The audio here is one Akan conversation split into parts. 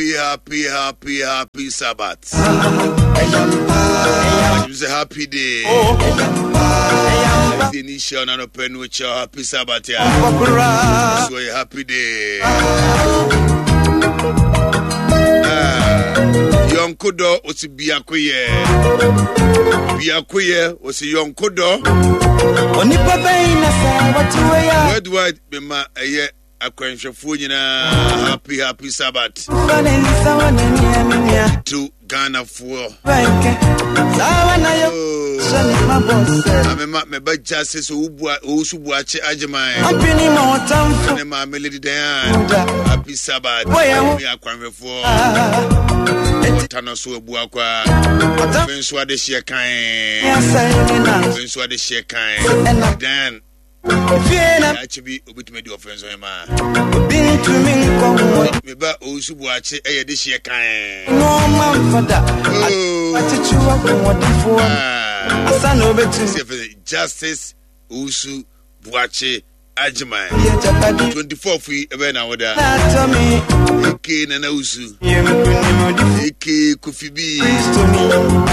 Happy, happy, happy Sabbath. It's a happy day. Initial and open with your happy Sabbath. Yeah. So a happy day. Yɔnko dɔ osi biako yɛ biako yɛ osi yɔnko dɔ. Onipa bɛyi na sɛ wɔte wei a. Worldwide bɛma ɛyɛ akwanhwɛfoɔ nyinaa happy happy Sabbath. To Ghanafoɔ. Amema meba gya se sɛ owusu buakye agyeman. Ne maame Lady Diane. Happy Sabbath. Me akwanhwɛfoɔ. Ɔta no so abu akwa. Me nso adehyeɛ kan. Me nso adehyeɛ kan. Diane. Daakye bi obetumi adi ɔfɛn so hemaa. Me ba Owusu Boakye ɛyɛ de hyeɛ kan. Justice Owusu Boakye Agyeman 24 yi ɛbɛyɛ na woda. Eke Nana Owusu. Eke Kofi bi.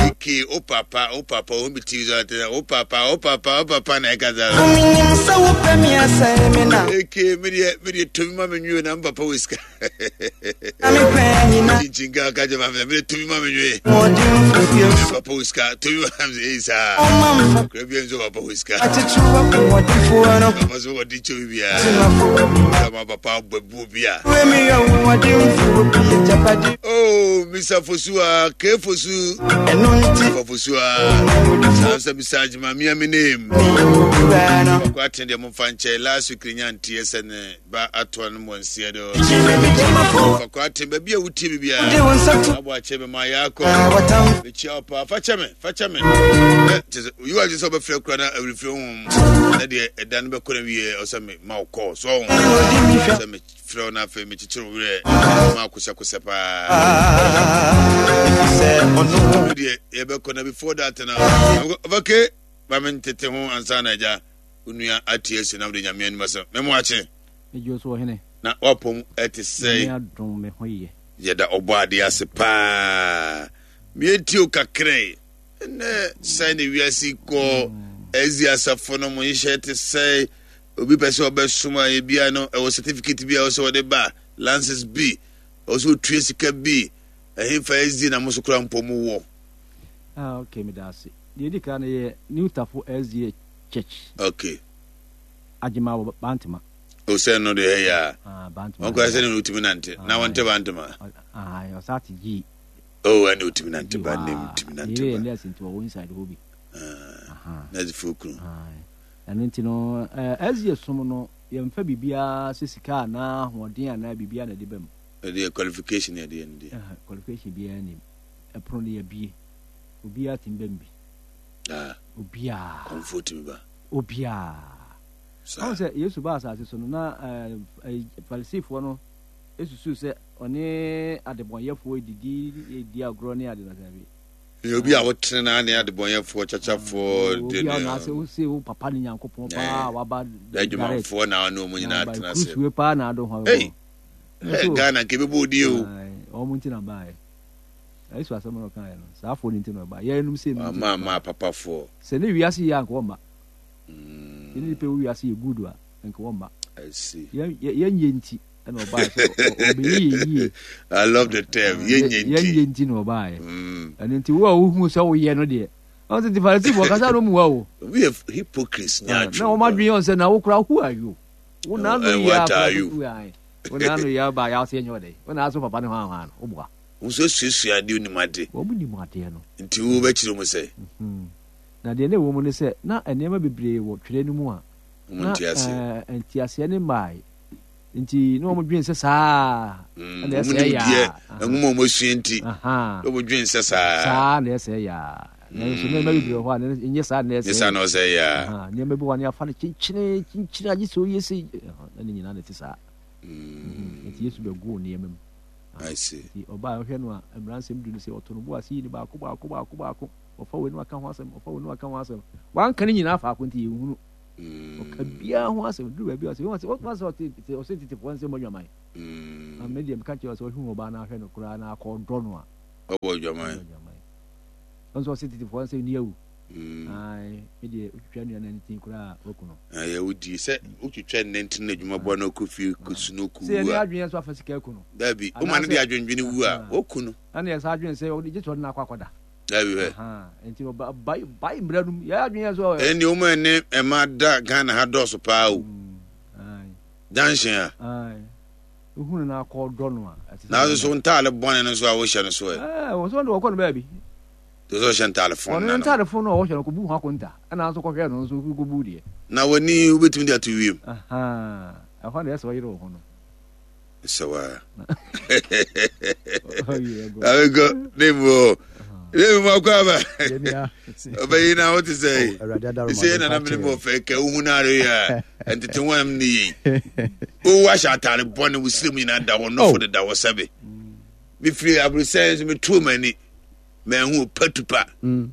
Eke o papa o papa o bi ti so ate o papa o papa o papa na ɛka sa. Eke me deɛ me deɛ tomi ma me nwie na me papa wɔ sika. Chinchin ka ka jɛ ma fɛ me deɛ tomi ma me nwie. Me papa wɔ sika tomi ma me nwie saa. Kura bi nso papa wɔ sika. Papa so wɔ di kyɛw biara. Ma papa bɔ bu obi a. Oh, Mr. Fosua, K Fosu. Fosua. Saa Mr. Ajima, mia me name. Ɔkɔ aten deɛ momfa nkyɛ last week nya nteɛ sɛ ne ba atoa no mmɔnseɛ do. Ɔkɔ aten baabi a wotie me biara. Abɔ akyɛ me ma yɛakɔ. Mekyia wo paa. Fa kyɛ me, fa kyɛ me. Kyɛ sɛ oyi wa sɛ ɔbɛfrɛ kura na awurifiri ho. Na deɛ ɛda no bɛkɔ na wie ɔsɛ me ma wo kɔɔ so ɔho. Sɛ mefrɛ wo na afei mekyekyere wo werɛ ma akosɛkosɛ paa. Deɛ yɛbɛkɔ na before that na ɔbɛke ma me ntete ho ansa na agya onua ate asi na wode nyame anim asɛm mɛmo akye. Na wapɔm ɛte sɛ yɛda ɔbɔ adeɛ ase paa mmiɛnti o kakra Ɛnɛ sɛn ne wiase kɔ ɛzi asafo no mo nhyehyɛ te sɛ obi pɛ sɛ ɔbɛsom a ebia no ɛwɔ certificate bi a ɛwɔ sɛ ɔde ba lances bi ɛwɔ sɛ otua sika bi ɛhefa ɛzi na mo so kora mpɔ mo wɔ. Ah, okay, meda ase. Deɛ ɛdi kan no yɛ New Tafo SDA Church. Okay. Agyema wɔ Bantama. O sɛ no deɛ ɛyɛ a. Ah, Bantama. Wɔn kora sɛ ne otumi nante. Na wɔn te Bantama. Ah, ɔsa te yie. Oh, ɛna otumi nante ba ne mu tumi nante ba. Yɛ nurse nti wɔwɔ inside hɔ bi. Nurse fo kunu. Ɛno nti no ɛzi esom no yɛmfa biribiara sɛ sika anaa ahoɔden anaa biribiara na ɛde ba mu. Ɛde yɛ qualification yɛ de yɛ no deɛ. Qualification biara nim. Ɛpono no yɛbie. Obiara tumi ba mu bi. Obiara. Kɔnfo tumi ba. Obiara. Ɔn sɛ Yesu ba asase so no na Farisifoɔ no esusuw sɛ ɔne adebɔnyɛfoɔ redidi, redi agorɔ ne ade no daabi. Yɛ obi a wotene na ne adebɔnyɛfoɔ, kyakyafoɔ de ne. Obi a ɔnaase wose wo papa ne Nyankopɔn paa waba. Adwumanfoɔ na ɔne wɔn nyinaa tena ase. Kurusuwe paa na ado ho. Hey, hey Ghana nke bɛbɔ odi o. Wɔn nti na baeɛ. Yesu asɛm na ɔkaeɛ no, saa afoɔ no nti na ɔba. Yɛnom sɛ no nti. Ama ama papafoɔ. Sɛ ne wiase yɛ anka wɔmma. Sɛ ne nipa wɔ wiase yɛ good a anka wɔmma. I see. Yɛnyɛ nti. ɛna ɔbaa sɛ ɔbɛyɛ yɛ yie. I love the term ah, yɛnyɛ nti. Yɛnyɛ nti na ɔbaa yɛ. Mm. Ɛno nti wo a wohu sɛ woyɛ no deɛ. Ɔn sɛ Farisifoɔ kasa no mua o. Obi yɛ hypocrites nya atwi. Na wɔn adwene yɛn sɛ na wo kora who are you? Wo na ano yɛ akora wo na ano yɛ aba yɛ ase nyɛ ɔdɛ. Wo na aso papa ne hwan hwan no wo boa. Wo nso suasua adeɛ onim ade. Wɔn nim adeɛ no. Nti wo bɛkyerɛ mu sɛ. Mhm. Na deɛ na ɛwɔ mu ne sɛ na nneɛma bebree wɔ twerɛ no mu a na nteaseɛ ne mmae. Nti na wɔn dwen sɛ saa mm, na ɛsɛ yɛ a. Nwoma wɔn asua nti na wɔn dwen sɛ saa. Saa na ɛsɛ yɛ a. Nanso nneɛma bebree wɔ hɔ a nyɛ saa na ɛsɛ. Nyɛ saa na ɛsɛ yɛ a. Nneɛma bi wɔ ne afa no kyenkyene kyenkyene agye sɛ oyɛ sɛ na ne nyinaa na ɛte saa. Mm. Nti Yesu bɛgo nneɛma mu. I see. Nti ɔbaa ɔhwɛ no a mmara nsɛm du no sɛ ɔto no bo ase yi ne baako baako baako baako ɔfa wei no aka ho asɛm ɔfa wei no aka ho asɛm wanka ne nyinaa faako nti yɛnhunu. Ɔka biara ho asɛm duru baabi a ɔsɛ wɔn sɛ ɔsɛ ɔte ɔsɛ tetefoɔ nsɛm adwaman. Na me deɛ meka kyerɛ sɛ ɔhwɛ ɔbaa no ahwɛ no koraa na akɔ ɔdɔ no a. Ɔbɔ adwaman. Ɔnso ɔse tetefoɔ nsɛ ni awu. Ae, me deɛ wotwitwa nua nantin koraa a waku no. Ɛyɛ wodi sɛ wotwitwa nantin na adwuma bɔ no kɔ fie kɔsu no ku wu a. Sɛ yɛne adwene nso afa sika aku no. Dabi, woma no de adwendwene wu a, woku no. Ɛna yɛ saa adwene sɛ ɔde gye sɛ ɔde no akɔ akɔda. Dabi hwɛ. Nti bai mmara no mu yɛ adwene nso. Ɛnni wɔn a ɛne ɛma da Ghana ha dɔɔso paa o. Junction a. Wohunu no akɔ dɔ no a. Nanso so ntaale bɔne no nso a wohyɛ no so ɛ. Ɛɛ wɔn nso de wɔkɔ no baabi. Te sɛ ɔhyɛ ntaale fon na no. Ɔno ntaale fon no a ɔhyɛ no kɔbu ho akonta ɛna nso kɔhwɛ no nso kɔbu deɛ. Na w'ani wobɛtumi de ato wiem. Ɛhɔ na ɛsɛ ɔyere wo ho no. Sɛ wa. Awekɔ ne mu ne mu akɔ aba. Ɔbɛyi na wote sɛ sɛ yɛ nana mene mu ɔfɛ kɛ wohu no are yɛ a ntete ho am ne yei. Wowu ahyɛ ataare bɔne wo siri mu nyinaa da hɔ nɔfo deda hɔ sɛbe. Mefiri aburosɛn nso metuo m'ani. Manhu patupa. Mm.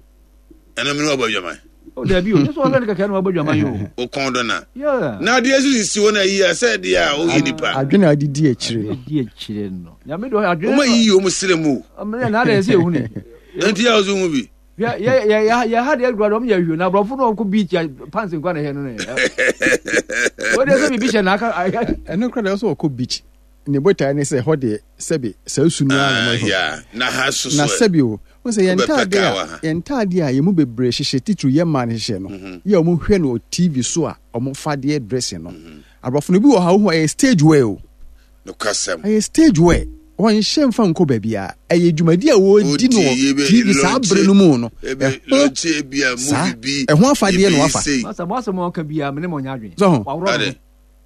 Ɛno mene wabɔ adwaman. Oh, dabi o, sɛ ɔhwɛ no kɛkɛ na wabɔ adwaman yi o. O kɔn dɔ na. Na adeɛ so sisi hɔ na yi a sɛ deɛ a woyɛ nipa. Adwene a ɔde di akyire no. Di akyire no. Nyame de adwene. Wɔn ayiyi wɔn srɛ mu. Ɔmo na ada yɛ sɛ ehu ni. Nti a ɔso hu bi. Yɛ yɛ yɛ yɛ ha deɛ gura de ɔmo yɛ hwio na aborɔfo no ɔmo kɔ beach a pants nkwa na ɛhɛ no ne. Wɔde sɛ biribi hyɛ n'aka. Ɛno kora deɛ ɔsɛ ɔkɔ beach. Ne botae ne sɛ ɛhɔ deɛ sɛbe saa su no ara na wɔhwɛ. Ah, na ha so Na sɛbe o, wɔn sɛ yɛn ntaade a yɛn ntaade a yɛn mu bebree hyehyɛ titiriw yɛn mmaa no hyehyɛ no, mhm. yɛ wɔn hwɛ no wɔ TV so a wɔn fa deɛ dressing no. Mhm. Aborɔfo no bi wɔ ha wohu ɛyɛ stage wear o. Nokwasɛm. Ɛyɛ stage wear. Wɔnhyɛ mfa nkɔ baabi a ɛyɛ dwumadi a wɔredi no wɔ TV saa bere no mu no. Ɛho saa ɛho afadeɛ na wafa. Masa mo asɛm a ɔka biara mene mo nyɛ adwene. So ho.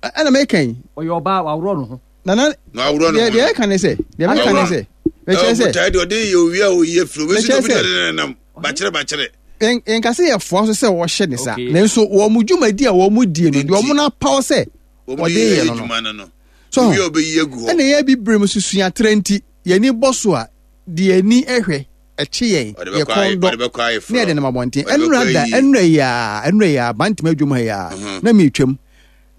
Ɛna meka yi. Ɔyɛ ɔbaa waworɔ ne ho. Nana deɛ deɛ ɛka ne sɛ deɛ meka ne sɛ mekyerɛ sɛ. Ɔbotae deɛ ɔde yɛ owia a oyi afiri obi nso obi de ne nam bakyerɛ bakyerɛ. Nka sɛ yɛfoa so sɛ wɔhyɛ ne saa nanso wɔn mu dwumadi a wɔn mu die no deɛ wɔn no apaw sɛ wɔde yɛ no no. So ɛna yɛ bibire mu susua atrɛ nti yɛn ani bɔ so a deɛ ani hwɛ ɛkye yɛn yɛ kɔn dɔ ne yɛde nam abɔnten ɛnura da ɛnura yi aa ɛnura yi aa bantama adwom ha yi aa mhm. na mi twam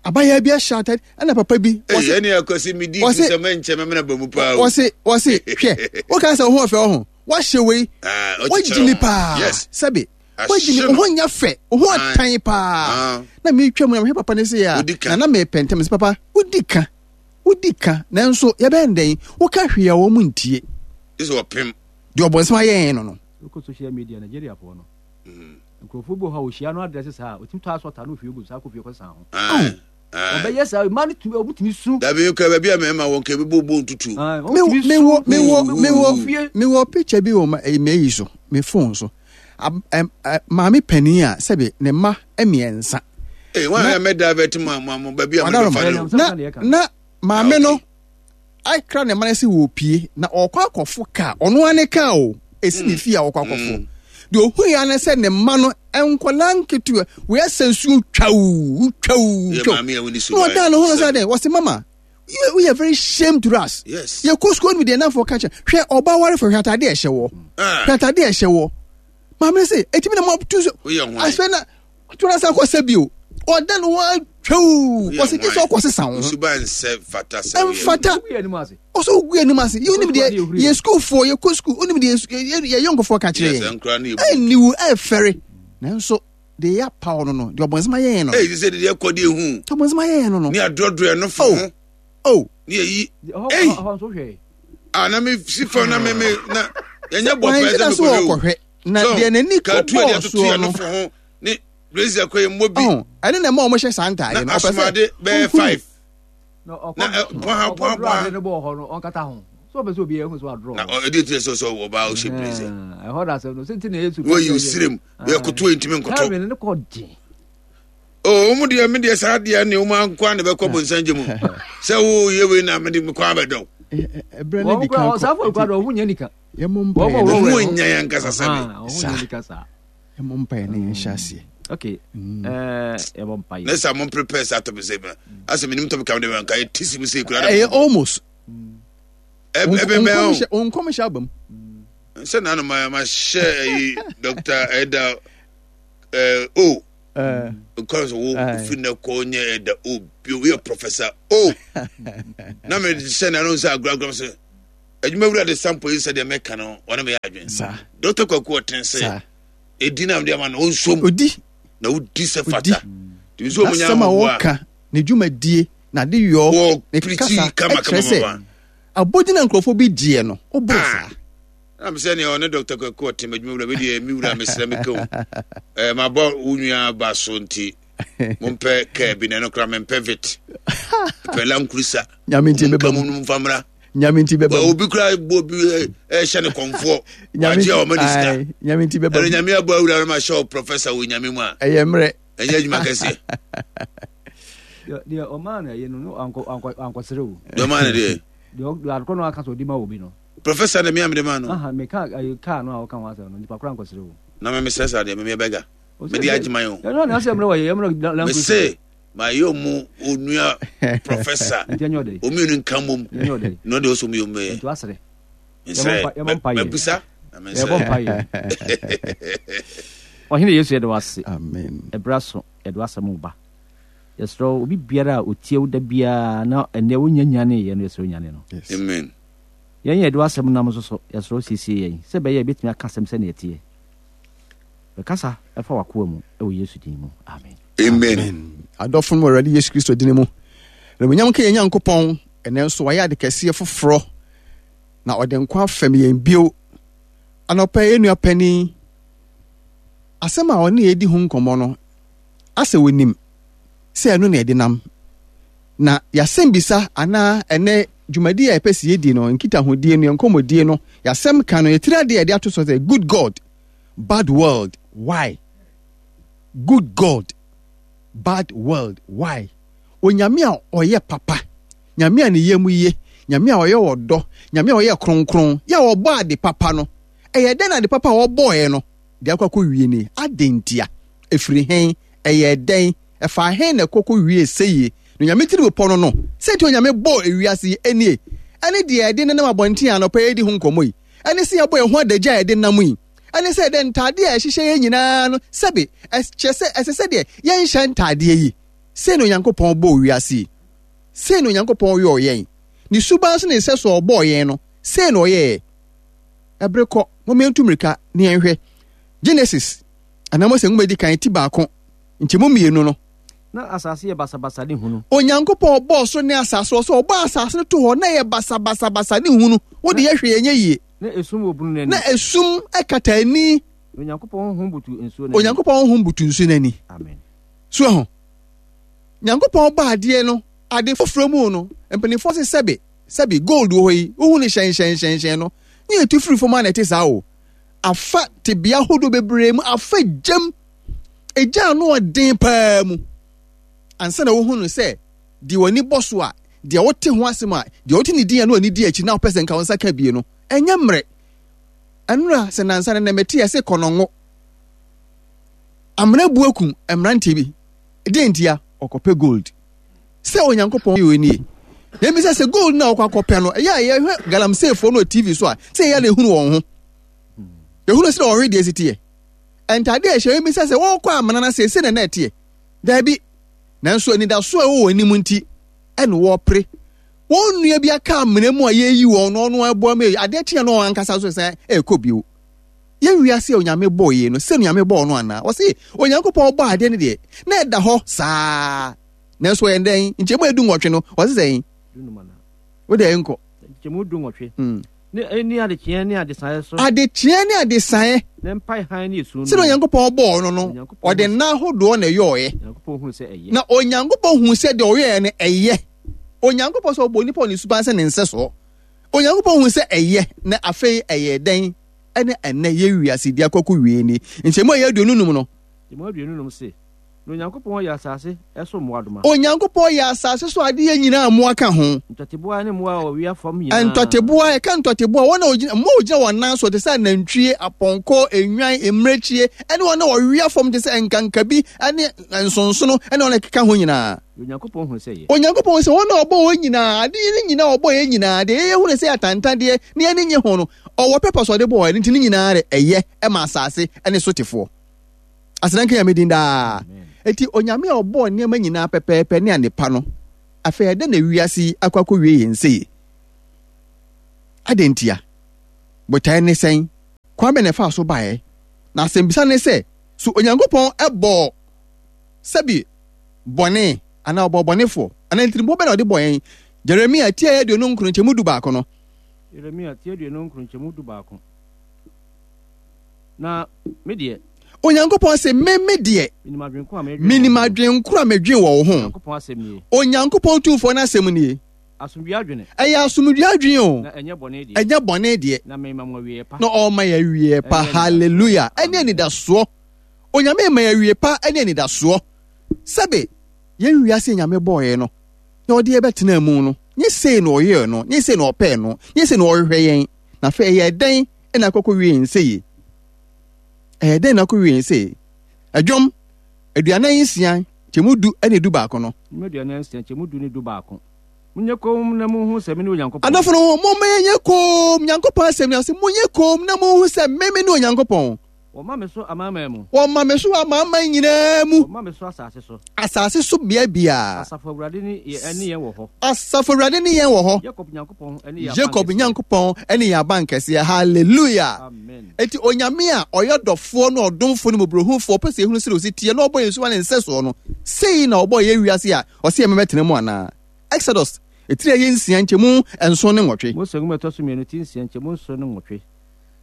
abayaa bi ahyɛ atade ɛna papa bi wɔsi ɛni akwasi mi di sɛ mɛ nkyɛn mɛ mɛna bɔ mu paa o wɔsi wɔsi hwɛ woka sɛ ɔho ɔfɛ ɔho wahyɛ wei ah, wagyimi paa sɛbi wagyimi ɔho nya fɛ ɔho atan paa ah. na mi twam na mehwɛ papa ne se ya na na mɛ pɛntɛm sɛ papa wodi ka Wodi ka, nanso yɛbɛyɛ no dɛn? Woka hwee a wɔn ntie. Gye sɛ wɔpem. Deɛ ɔbɔnsam ayɛ yɛn no no. Wokɔ social media Nigeriafoɔ no, nkurɔfoɔ bi wɔ hɔ a wɔhyia no adrɛse saa a, wɔtumi tɔ asɔta na wɔhwie gu saa kɔ fie kɔsesa ho. Wɔbɛyɛ saa, mmaa no tumi, wɔtumi su. Dabi nka baabi a mmarima wɔ nka ebi bɔ bɔ ntutu. Mewɔ mewɔ mewɔ mewɔ picture bi wɔ m'ayi so, me phone so. Maame panin a sɛbi ne mma mmiɛnsa. Ee, wɔn a mɛ divert mu a mo baabi a mo bɛfa no. Na na maame no akra ne mma no sɛ wɔpie na ɔkɔ akɔfo kaa ɔno ara ne kaa o esi ne hmm. fie a ɔkɔ akɔfo hmm. deɛ ohu ya ne sɛ ne mma no nkɔla nketewa wei asɛ nsuo twaw twaw twaw na ɔdan ne ho sɛ dɛ wɔsi mama we are very shame to us yes yɛ kɔ sukuu no deɛ nanfo ka kyɛ hwɛ ɔba ware fɛ hwɛ atade ɛhyɛ wɔ ah. hwɛ atade ɛhyɛ wɔ maame no sɛ etimi na mo tu so asɛ na to na san kɔ sɛ bio ɔda ne ho atwɛw ɔsɛ gye sɛ ɔkɔ sesa wo ho ɛmfata ɔsɛ wogu anim ase yɛ wonim deɛ yɛ sukuufoɔ yɛkɔ sukuu wonim deɛ yɛ yɔnkofoɔ ka kyerɛ yɛn ɛnniwu ɛfɛre nanso deɛ yɛ apaw no no deɛ ɔbɔnsɛm ayɛ yɛn no ɛyi sɛ deɛ ɛkɔ deɛ ehu ɔbɔnsɛm ayɛ yɛn no no ne adrɔdrɔ ɛno fo ho oh ne yɛyi ɛyi a na me si fam na me me na yɛnyɛ bɔ pɛɛ sɛ mekɔhwɛ o na deɛ n'ani kɔ bɔɔ soɔ no ne blazer kɔ yɛ mmɔ bi ɛne na ɛma wɔn hyɛ saa ntaade no na asomade bɛyɛ five na bɔha bɔha bɔha ne bɔɔ hɔ no ɔnkata ho so ɔpɛ sɛ obi ɛhu so adorɔ na ɛde ti sɛ sɛ ɔbaa ɔhyɛ blazer ɛhɔ na asɛm no sɛ nti na yesu wɔyi osirim yɛ koto ntumi nkoto ne kɔ den o wɔn deɛ me deɛ saa deɛ ne wɔn ankoa na bɛkɔ bonsam gye mu sɛ wo yɛ wei na mede mekɔ abɛdɔw ɛbrɛ ne di kan kɔ saa fɔ ekura dɔ ɔho nyɛ nika yɛmmɔ mpaeɛ na ɔho nyɛ yɛn ankasa sɛbe saa yɛmmɔ mpaeɛ na yɛnhyɛ aseɛ okay mm. eh, yɛbɔ mpaeɛ ne sɛ mo prepare saa topic sɛ asɛ menim topic a mede nka yɛte si mu sɛ kura ɛyɛ almost ɛbɛbɛn o nkɔmhyɛ aba mu sɛ nanu ma ma hyɛ ɛyi dr ɛda ɛɛ o. Nkɔla sɛ wo fi nnɛ kɔ nyɛ ɛda o bio woyɛ professor o. Na me hyɛ na no sɛ agorɔ sɛ adwuma wura de sample yi sɛ deɛ mɛka no wɔne meyɛ adwene. Dr. Kwaku ɔten sɛ ɛdi na mede ama no ɔnsom. Odi. Na wodi sɛ fata. Nti sɛ ɔmo nya N'asɛm a wɔka, ne dwumadie, n'ade yɔ, ne kasa ɛkyerɛ sɛ abodin a nkurɔfoɔ bi gyeɛ no, woboro saa. Na mesɛ nea ɔne Dr. Kwaku ɔte m'adwuma wura medeɛ me wura mesrɛ meka o eh, mabɔ wo nua ba so nti mompɛ kaa bi na ɛno koraa mempɛ vit pɛ lankurisa Nyame nti nka bɛba mu mu. no mfa mmra. Nyame nti bɛba mu. Obi koraa bɔ obi ɛhyɛ ne kɔmfoɔ Nyame wagye a ɔma ne sika. Ae, Nyame nti bɛba Ɛno mu. Nyame abɔ awura no ma hyɛ wo professor wɔ Nyame mu a Ɛyɛ mmerɛ. ɛnyɛ adwuma kɛseɛ. Deɛ ɔmaa no ɛyɛ no no ankɔsere o. Deɛ ɔmaa no deɛ. Deɛ adekɔ no aka sɛ ɔde ma obi no. Professor na mea mede maa no. Aha, meka ayi kaa no a ɔka ho asɛm no, nipa koro ankɔsere o. Na me mesrɛ saa deɛ, me bɛga. Mede agyeman o. Ɛno na asɛm no wɔyɛ, yɛmmerɛ language. Mese, mayɛ ɔmu onua professor. Nti ɛnyɛ ɔdɛ. Ɔmmienu nka mmom. Ɛnyɛ ɔdɛ. Na ɔde ɔsɔ mu yɛ ɔmu bɛyɛ. Nti wasere. Nsrɛ, mabisa na mensrɛ. Yɛbɔ mpa yɛ. Ɔhene Yesu yɛde wase. Amen. Ɛberɛ so yɛde wasɛm ba. Yɛsrɛ obi biara a ɔtie wo da biara na ɛnɛ wonya nyaneeɛ no yɛsrɛ onyane no. Amen. Yɛn a yɛde w'asɛm nam nso so, yɛsrɛ wo siesie yɛn sɛ ɛbɛyɛ a yɛbɛtumi aka asɛm sɛnea ɛteɛ. Bɛkasa fa w'akoa mu wɔ Yesu din mu. Amen. Amen. Adɔfo no wɔ Awurade Yesu Kristo din mu. Animuonyam nka yɛn Nyankopɔn, ɛnɛ nso wayɛ ade kɛseɛ foforɔ na ɔde nkwa afɛm yɛn bio. Anɔpa yɛn nua panin, asɛm a ɔne yɛn di ho nkɔmmɔ no, asɛ onim sɛ ɛno na yɛde nam. Na yɛasɛmbisa anaa ɛnɛ dwumadi a yɛpɛ sɛ yɛdi no, nkitahodie no, yɛn nkɔmmɔdie no, yɛasɛm ka no, yɛtiri adeɛ a yɛde ato so sɛ good God, bad world, why? Good God, bad world, why? Onyame a ɔyɛ papa, Nyame a ne yam ye, Nyame a ɔyɛ ɔdɔ, Nyame a ɔyɛ kronkron, yɛ a ɔbɔ ade papa no, ɛyɛ dɛn na ade papa a ɔbɔɔɛ no de akɔ akɔwie ni? Adɛn ntia? Ɛfiri hen? Ɛyɛɛ dɛn? Ɛfaa hen na ɛkɔ kɔwiee sɛie? Na Onyame tirimupɔ no no, sɛ nti Onyame bɔɔ ewiase yi nie, ɛne deɛ yɛde nenam abɔnten a anɔpa yi yɛredi ho nkɔmmɔ yi, ɛne sɛ yɛabɔ yɛn ho adagya a yɛde nam yi, ɛne sɛ yɛde ntaadeɛ a ɛhyehyɛ yɛn nyinaa no, sɛbe, ɛkyerɛ sɛ ɛsɛ sɛ deɛ yɛnhyɛ ntaadeɛ yi. Sei na Onyankopɔn bɔɔ wiase yi. Sei na Onyankopɔn yɔɔ yɛn. Ne suban so ne nsɛso a ɔbɔɔ yɛn no, sei na ɔyɛɛ. Ɛbere kɔ, momma yɛntu mmirika na yɛnhwɛ Genesis, anaa Mose nwoma a edi kan, ti baako, nkyɛmu mmienu no. Na asase yɛ basabasa ne hunu. Onyankopɔn bɔɔ soro ne asase, ɔsɛ ɔbɔɔ asase no to hɔ na ɛyɛ basabasabasa ne hunu. Wo de yɛ hwee ɛnyɛ yie. Na esum wɔ bunu no ani. Na esum kata ani. Na Onyankopɔn honhom butu nsuo no ani. Onyankopɔn honhom butu nsuo no ani. Amen. So ɛho. Nyankopɔn bɔ adeɛ no, ade foforɔ mu no, mpanimfoɔ se sɛbe, sɛbe, gold wɔ hɔ yi, wohu no hyɛnhyɛnhyɛnhyɛn no, ne yɛtu firi fam a na ɛte saa o. Afa tebea ahodoɔ bebree mu, afa gyam, egya ano ɔden paa mu, ansa na wohu no sɛ deɛ w'ani bɔ so a, deɛ wote ho asɛm a, deɛ wote ne din a na w'ani di akyi na wopɛ sɛ nka wo nsa ka bie no, ɛnyɛ mmerɛ. Ɛnora sɛ nansa no na mete ɛse kɔnɔngo. Amena bu akum mmeranteɛ bi. Deɛ ntia? Ɔkɔpɛ gold. Sɛ Onyankopɔn yɛ nie. Na ebisa sɛ gold na ɔkɔ akɔpɛ no, ɛyɛ a yɛhwɛ galamseyfoɔ no wɔ TV so a, sɛ ɛyɛ na ehunu wɔn ho. Ehunu sɛ wɔn wedeɛ si teɛ. Ntadeɛ a ɛhyɛ ebisa sɛ wɔrekɔ amena no ase sɛ na na ɛteɛ. Daabi. Nanso anidaso a ɛwɔ wɔn anim nti, ɛna wɔrepere. Wɔn nua bi aka amena mu a yɛreyi wɔn no, ɔno ɛboa mu adeɛ kye a na wɔn ankasa nso san ɛrekɔ bio. Yɛn wiase a Onyame bɔɔ yei no, sɛ Onyame bɔɔ no anaa? Ɔse Onyankopɔn bɔɔ adeɛ no deɛ, na ɛda hɔ saa. Nanso ɔyɛ dɛn? Nkyɛmu a 18 no, ɔse sɛn? Wo deɛ nkɔ. Nkyɛmu 18. Ne ne adekyeɛ ne adesaeɛ so. Adekyeɛ ne adesaeɛ. Ne mpae hann ne esum no. Sɛdeɛ Onyankopɔn bɔɔ no no, ɔde nna ahodoɔ na ɛyɔɔɛ. Onyankopɔn huu sɛ ɛyɛ. Na Onyankopɔn huu sɛ deɛ ɔyɛɛ no ɛyɛ. Onyankopɔn sɛ ɔbɔɔ nipa wɔ ne suban sɛ ne nsɛsoɔ. Onyankopɔn huu sɛ ɛyɛ, na afei ɛyɛɛ dɛn? Ɛne ɛnnɛ yɛn wiase di akɔ akɔwie ni. Nkyɛmu a ɛyɛ 25 no. Nkyɛmu 25 se, Na Onyankopɔn yɛɛ asase so mmoadoma. Onyankopɔn yɛɛ asase so adeɛ nyinaa mmoa ka ho. Ntɔteboa ne mmoa a wɔwea fam nyinaa. Ntɔteboa, yɛka ntɔteboa, wɔn a wɔgyina, mmoa a wɔgyina wɔn nan so te sɛ anantwie, apɔnkɔ, nnwan, mmirekyie, ɛne wɔn a wɔwea fam te sɛ nkankabi ne nsonsono ne wɔn a ɛkeka ho nyinaa. Onyankopɔn hu sɛ ɛyɛ. Onyankopɔn hu sɛ wɔn a ɔbɔɔ wɔn nyinaa, ade no nyinaa a ɔbɔɔ yɛn nyinaa, deɛ yɛyɛ hu no sɛ atantandeɛ na yɛn ani nnye ho no, ɔwɔ purpose a ɔde bɔɔ yɛn, nti ne nyinaa de ɛyɛ ma asase ne sotefoɔ. Aseda nka Nyame din daa. Enti Onyame a ɔbɔɔ nneɛma nyinaa pɛpɛɛpɛ ne adepa no, afei ɛdɛn na wiase yi akɔ akɔwie yɛn sei? Adɛn ntia? Botae ne sɛn? Kwan bɛn na ɛfaa so baeɛ? Na asɛmbisa ne sɛ, so Onyankopɔn bɔɔ sɛbi bɔne anaa ɔbɔɔ bɔnefoɔ? Anaa ntirimpɔ bɛn na ɔde bɔɔ yɛn? Jeremia ti a ɛyɛ 29 nkyɛmu 11 no. Yeremia ti 29 nkyɛmu 11. Na me deɛ. Onyankopɔn se, Me, me deɛ. Menim adwene ko a medwen wɔ wo ho. Onyankopɔn Tumfoɔ no asɛm nie. Asomdwoeɛ adwene. Ɛyɛ asomdwoeɛ adwene o. Na ɛnyɛ bɔne deɛ. Ɛnyɛ bɔne deɛ. Na mema mo awieɛ pa. Na ɔma yɛ awieɛ pa. Hallelujah. Ɛne anidasoɔ. Onyame ma yɛ awieɛ pa ɛne anidasoɔ. Sɛbe yɛn wiase Nyame bɔɔyɛ no, na ɔde yɛ bɛtena mu no, nye sei na ɔyɛɛ no, nye sei na ɔpɛɛ no, nye sei na ɔhwehwɛ yɛn. Na afei ɛyɛ dɛn na akɔkɔ wie yɛn sei? Ɛyɛ dɛn na akɔ wie yɛn sei? Ɛdwom 46 nkyɛmu du ne 11 no. Nnwom 46 nkyɛmu du ne 11. Monyɛ komm na munhu sɛ mene Onyankopɔn. Adɔfo no, momma yɛnyɛ komm. Nyankopɔn asɛm ni, ɔse, Monyɛ komm na munhu sɛ me mene Onyankopɔn. Wɔma me so amanaman mu. Wɔma me so amanaman nyinaa mu. Wɔma me so asase so. Asase so bea biara. Asafo Awurade ne yɛn wɔ hɔ. Asafo Awurade ne yɛn wɔ hɔ. Yakob Nyankopɔn ne yɛn Jacob Nyankopɔn ne yɛn abankɛseɛ. Hallelujah. Amen. Enti Onyame a ɔyɛ ɔdɔfoɔ ne ɔdomfoɔ ne mmɔborɔhunufoɔ, ɔpɛ sɛ yɛhunu sɛdeɛ ɔsi teɛ na ɔbɔ yɛn suban ne nsɛsoɔ no, sei na ɔbɔɔ yɛn wiase a ɔse yɛn mmɛtena mu anaa? Exodus, etiri a ɛyɛ nsia nkyɛmu nson ne nwɔtwe. Mose nwoma a ɛtɔ so mmienu ti nsia nkyɛmu nson ne nwɔtwe.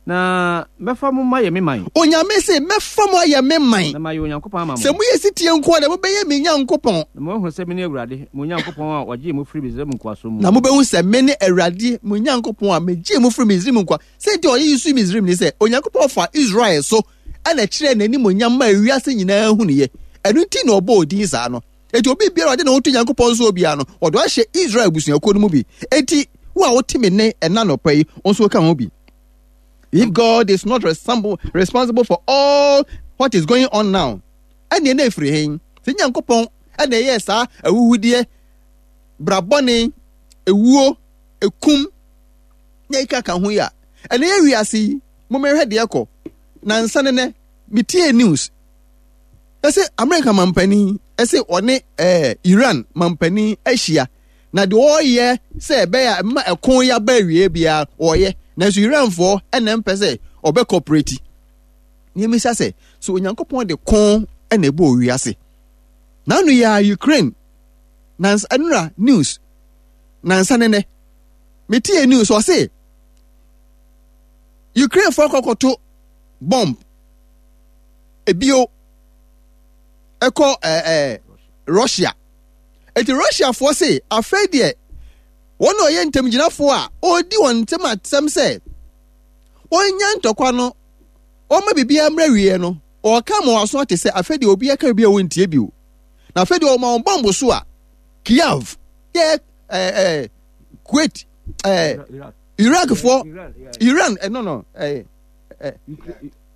Na mɛfa mo mayɛ me man. Onyame se, mɛfa mo ayɛ me man. Na mayɛ Onyankopɔn ama mo. Sɛ moyɛ setie nko ara deɛ, mobɛyɛ me Nyankopɔn. Na moahunu sɛ mene Awurade, mo Nyankopɔn a ɔgyee mo firii Misraim nkoasom mu. Na mobɛhu sɛ mene Awurade, mo Nyankopɔn a megyee mo firii Misraim nkoa. Sɛ nti a ɔyɛ yi so Misraim ne sɛ, Onyankopɔn faa Israel so na ɛkyerɛɛ n'animuonyam maa wiase nyinaa hunuiɛ. Ɛno nti na ɔbɔɔ din saa no. Enti obi biara a ɔde ne ho to Nyankopɔn soɔ biara no, ɔde ahyɛ Israel abusuakuo no mu bi. Enti wo a wote me nne ɛna anɔpa yi, wo nso woka ho bi. If God is not responsible for all what is going on now, ɛnneɛ na ɛfiri he? Sɛ Nyankopɔn ɛna ɛyɛɛ saa ahuhudeɛ, brabɔne, ewuo, ekum, na ɛka ka ho yi a, ɛnɛ yɛ wiase yi, mommɛhwɛ deɛ ɛkɔ. Nansa ne nɛ, metie news, ɛsɛ Amerika mampanin ɛsɛ ɔne ɛɛ Iran mampanin ahyia na deɛ ɔreyɛ sɛ ɛbɛyɛ a ɛma ɛko yi aba awie biara ɔreyɛ nanso Iranfoɔ ɛna mpɛ sɛ ɔbɛ kɔprɛti. Nneɛma sɛ so Onyankopɔn de ko ɛna ɛbɔ owiase. N'ano yɛ a Ukraine nansa ɛnura news nansa ne nɛ metie news ɔse Ukrainefoɔ akɔkɔto bomb ebio ɛkɔ ɛɛ eh, Russia eti Russiafoɔ se afei deɛ wɔn na ɔyɛ ntamgyinafoɔ a ɔredi wɔn ntɛm atɛm sɛ wɔnya ntɔkwa no wɔma biribiara mmerɛ wieɛ no ɔka ma wɔn aso ate sɛ afei deɛ obi aka biribi a wɔntie bio na afei deɛ ɔma wɔn bɔmbo so a Kiev yɛ ɛɛ ɛɛ Kuwait ɛɛ Iraqfoɔ Iran ɛno no ɛɛ ɛɛ.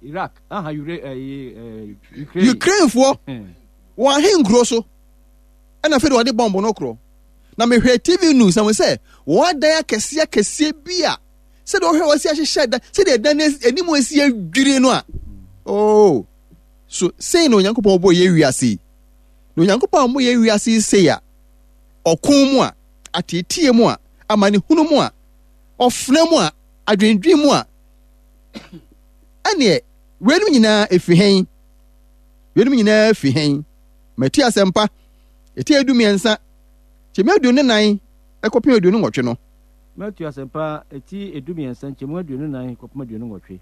Iraq, aha Ure, eh, eh, Ukraine. Ukrainefoɔ wɔn ahenkuro so ɛna afei de wɔde bɔmbo no korɔ na mehwɛ TV news na mo sɛ wɔn adan akɛseɛ akɛseɛ bi a sɛdeɛ wɔhwɛ wɔsi ahyehyɛ dan sɛdeɛ dan no anim asi adwiri no a oh so sei na Onyankopɔn bɔ yɛ wiase yi na Onyankopɔn a mo yɛ wiase yi sei a ɔko mu a ateeteɛ mu a amanehunu mu a ɔfena mu a adwendwen mu a Ɛnneɛ, weinom nyinaa ɛfiri hɛn? Weinom nyinaa firi hɛn? Mateo Asɛmpa, ɛti 13, nkyɛmu 24 kɔpem 28 no. Mateo Asɛmpa, ɛti 13, nkyɛmu 24 kɔpem 28.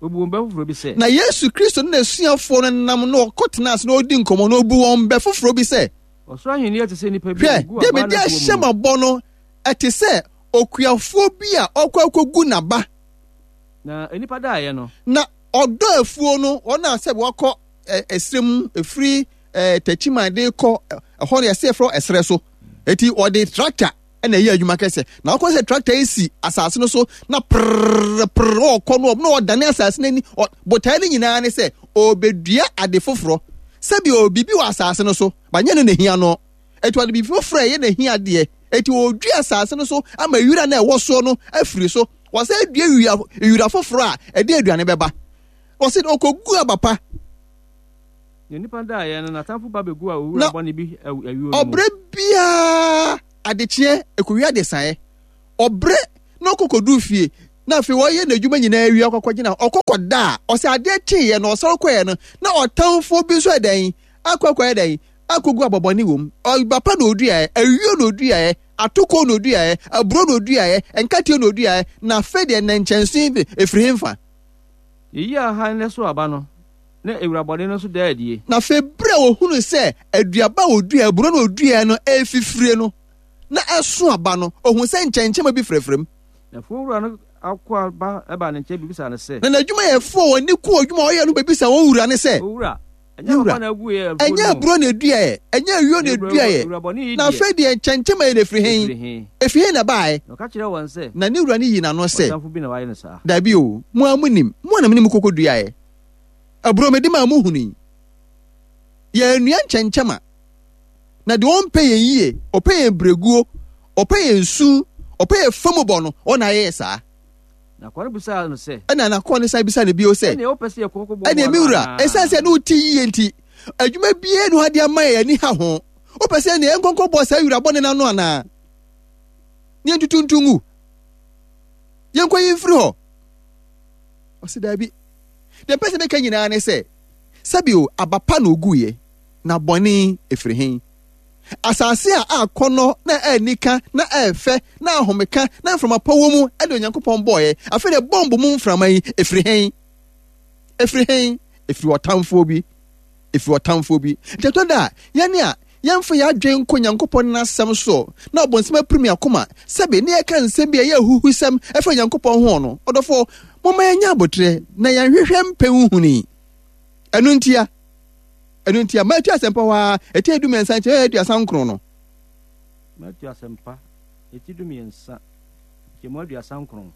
Ɔbu wɔn bɛ foforɔ bi sɛ. Na Yesu Kristo ne n'asuafoɔ no nam na ɔkɔtenaa ase na ɔredi nkɔmmɔ na ɔbu wɔn bɛ foforɔ bi sɛ. Ɔsoro ahennie te sɛ nnipa bi a Hwɛ, ɔgu deɛ aba mede n'afuo ahyɛ mu. mo abɔ no, ɛte sɛ okuafoɔ bi a ɔkɔ akɔgu n'aba. Na nnipa daeɛ no. Na ɔdɔ afuo no, wɔn a sɛ wɔkɔ ɛserɛ mu, ɛfiri Takyiman de kɔ ɛhɔ no yɛsɛ yɛfrɛ ɛserɛ so. Eti wɔde tractor na ɛyɛ adwuma kɛsɛ. Na wɔkɔ sɛ tractor yi si asase no so na prrrr prrrr ɔkɔ no na ɔdane asase no ani. Botae no nyinaa ne sɛ ɔrebɛdua ade foforɔ. Sɛbi ɔwɔ biribi wɔ asase no so, ba nyɛ no na ehia no. Enti ɔde biribi foforɔ a ɛyɛ n'ahiadeɛ. Enti ɔredua asase no so ama wira no a ɛwɔ soɔ no afiri so. Wɔsan dua wira, wira foforɔ a ɛde aduane bɛba. Ɔse ɔkɔgu aba pa. Na onipa daeɛ no, n'atamfo ba bɛguu owura bɔne bi ayuo no mu. Ɔbrɛ biara adekyeɛ ɛkɔwie adesaeɛ. Ɔbrɛ na ɔkɔ kɔduru fie na afei ɔyɛ n'adwuma nyinaa awie akɔ akɔgyina hɔ. Ɔkɔ kɔda a, ɔsɛ adeɛ kyeeɛ no ɔsɔre kɔeɛ no na ɔtamfoɔ bi nso ɛdɛn akɔ akɔyɛ dɛn akɔgu abɔbɔne wɔ mu. Ɔba pa na ɔduaeɛ, ayuo na ɔduaeɛ, atokoɔ na ɔduaeɛ, aburo na ɔduaeɛ, nkateɛ na ɔduaeɛ, na afei deɛ nnɛnkyɛnse yi ɛfiri hemfa? Yɛyi ahan na ɛso aba no, na ewura bɔne no nso daa adie. Na afei berɛ a wɔhunuu sɛ aduaba a ɔduaeɛ, aburo na ɔduaeɛ no refifirie no, na ɛso aba no, ɔhuu sɛ nkyɛnkyɛmma bi frɛfrɛ mu. Na afuowura no akoa ba baa ne nkyɛn bɛbisaa no sɛ. Na n'adwumayɛfoɔ a wɔn ani ku adwuma a ɔyɛ no bɛbisaa wɔn wura no sɛ. Owura, ɛnyɛ wura, papa na agu yɛn afuo ɛnyɛ no mu? aburo na ɛduaeɛ, ɛnyɛ ayuo na Na ewura ɛduaeɛ, wura bɔne yi na deɛ, afei deɛ nkyɛnkyɛmma yi na ɛfiri he? ɛfiri he? Ɛfiri he na ɛbaeɛ? Na ɔka kyerɛɛ wɔn sɛ. Na ne wura no yii n'ano sɛ. Ɔtamfo bi na wayɛ no saa. Dabi o, mo ara monim, mo ara na me ne mo kɔkɔduaeɛ. Aburo mede maa mo hunui. Yɛannua nkyɛnkyɛmma. Na deɛ ɔmpɛ yɛn yie, ɔpɛ yɛn berɛguo, ɔpɛ yɛn su, ɔpɛ yɛn famubɔ no, ɔno na ayɛ yɛn saa. Na akoa no bisaa no sɛ. Ɛnna n'akoa no san bisaa no bio sɛ. Ɛnneɛ wopɛ sɛ yɛkɔ kɔboaboa Ɛnneɛ me ano wura, anaa? ɛsiane sɛ ne wo te yie nti, adwuma biara nni hɔ a de ama yɛn ani ha ho. Wopɛ sɛ ɛnneɛ yɛnkɔ nkɔboa saa wura bɔne no ano anaa? Ne yɛntutu nto ngu? Yɛnkɔyi mfiri hɔ? Ɔse daabi. Deɛ mpɛ sɛ meka nyinaa ne sɛ, sɛbio aba pa na ɔguiɛ, na bɔne ɛfiri he? Asase a akɔnnɔ na anika na ɛfɛ na ahomeka na mframa pa wɔ mu de Onyankopɔn bɔeɛ. Afei deɛ bɔmbo mu mframa yi, ɛfiri he? Ɛfiri he? Ɛfiri ɔtamfoɔ bi. Ɛfiri ɔtamfoɔ bi. Nti ɛtɔ da a, yɛne a yɛmfa yɛn adwene nkɔ Nyankopɔn n'asɛm soɔ na ɔbonsam apirim yɛn akoma sɛbe ne yɛka nsɛm bi a ɛyɛ ahuhusɛm ɛfa Nyankopɔn ho no, ɔdɔfoɔ, momma yɛnyɛ aboterɛ na yɛnhwehwɛ mpɛ nhuni. Ɛno ntia. Ɛno nti a, Matthew Asɛmpa hɔ ara, ɛti 13 nkyɛ 39 no. Matthew Asɛmpa, ɛti 13, nkyɛmu 39.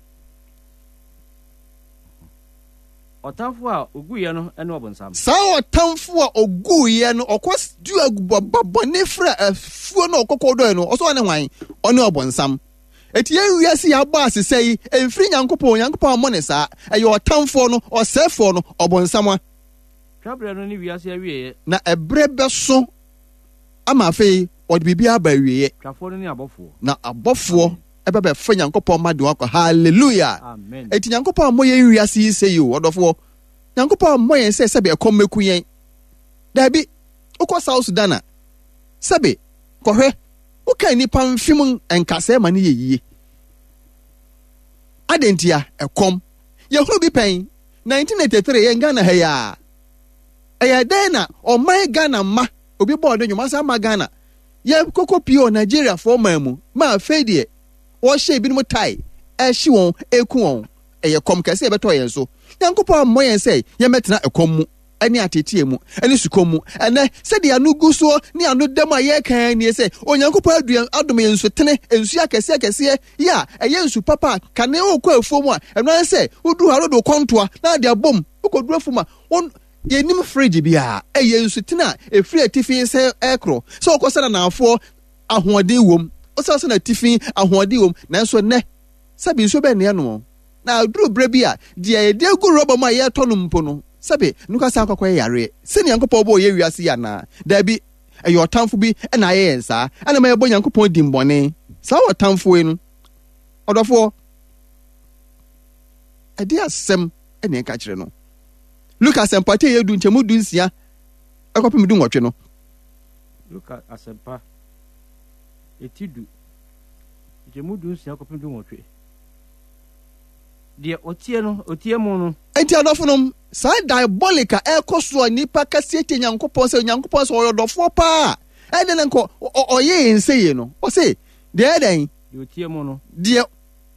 Ɔtamfo a oguiɛ no ne ɔbonsam. Saa ɔtamfo a oguiɛ no, ɔkɔ dua ba bɔne frɛ afuo no ɔkɔkɔ dɔɛ no, ɔsɛ ɔne hwan? Ɔne ɔbonsam. Eti yɛn wiase yɛ abɔ asesɛ yi, ɛmfiri Nyankopɔn, Nyankopɔn ammɔ ne saa. Ɛyɛ ɔtamfoɔ no, ɔsɛefoɔ no, ɔbonsam a. Twaberɛ no ne wiase awieɛ. Na ɛberɛ bɛso ama afei wɔde biribiara aba awieɛ. Twafoɔ no ne abɔfoɔ. Na abɔfoɔ ɛbɛbɛfa Nyankopɔn mma de wɔn akɔ. Hallelujah! Amen. Enti Nyankopɔn ammɔ yɛn wiase yi sɛyi o, ɔdɔfoɔ. Nyankopɔn ammɔ yɛn sɛ sɛbe ɛkɔm mɛku yɛn. Daabi. Wokɔ South Sudan a, sɛbe, kɔhwɛ, woka nnipa mfem nkasɛɛ ma no yɛ yie. Adɛn ntia? Ɛkɔm. Yɛhunu bi pɛn. 1983 yɛn Ghana ha yi ara. Ɛyɛ dɛn na ɔman Ghana mma obi bɔɔ ne nnwom asan ama Ghana yɛ koko pii wɔ Nigeriafoɔ man mu ma afei deɛ wɔhyɛ ebinom tae ɛhye wɔn ɛku wɔn. Ɛyɛ kɔm kɛse ɛbɛtɔ yɛn so. Nyankopɔn ammɔ yɛn sɛ yɛmmɛtena ɛkɔm mu ɛne ateeteɛ mu ɛne sukɔm mu. Ɛnɛ sɛdeɛ ano gu soɔ ne ano da mu a yɛreka ara nie sɛ Onyankopɔn aduan adom yɛn nsutene, nsuo akɛseɛ akɛseɛ yi a ɛyɛ nsu papa a kane wokɔ afuo mu a ɛno ara sɛ woduru hɔ a wode wo kɔntoa na ade abom wokɔduru afuo mu a won yɛnim fridge biara ɛyɛ nsutene a ɛfiri atifi sɛ ɛkorɔ sɛ wokɔ sɛ nanaafoɔ ahoɔden wom wosɛ sɛ n'atifi ahoɔden wom nanso nnɛ sɛbe nsuo bɛn ne ɛnoɔ na aduru berɛ bi a deɛ yɛde agu rɔba mu a yɛretɔ no mpo no sɛbe no ka san akɔkɔyɛ yareɛ sɛ Nyankopɔn bɔɔ yɛ wiase yi anaa daabi Ɛyɛ ɔtamfo bi na ayɛ yɛn saa, ɛna ma yɛbɔ Nyankopɔn dimmɔne. Saa ɔtamfo yi no, ɔdɔfoɔ, ɛde asɛm na ɛka kyerɛ no. Luka asɛmpa ti ɛyɛ du nkyɛmu 16 ɛkɔpem 18 no. Luka asɛmpa eti du nkyɛmu 16 kɔpem 18. Deɛ ɔtie no, ɔtie mo no. Enti adɔfonom, saa diabolic a ɛrekɔ so a nnipa kɛseɛ tie Nyankopɔn sɛ Onyankopɔn sɛ ɔyɛ ɔdɔfoɔ paa a, ɛdɛn na nka ɔyɛ yɛn sɛ yei no? Ɔse, deɛ ɛyɛ dɛn? Deɛ ɔtie mo no. Deɛ.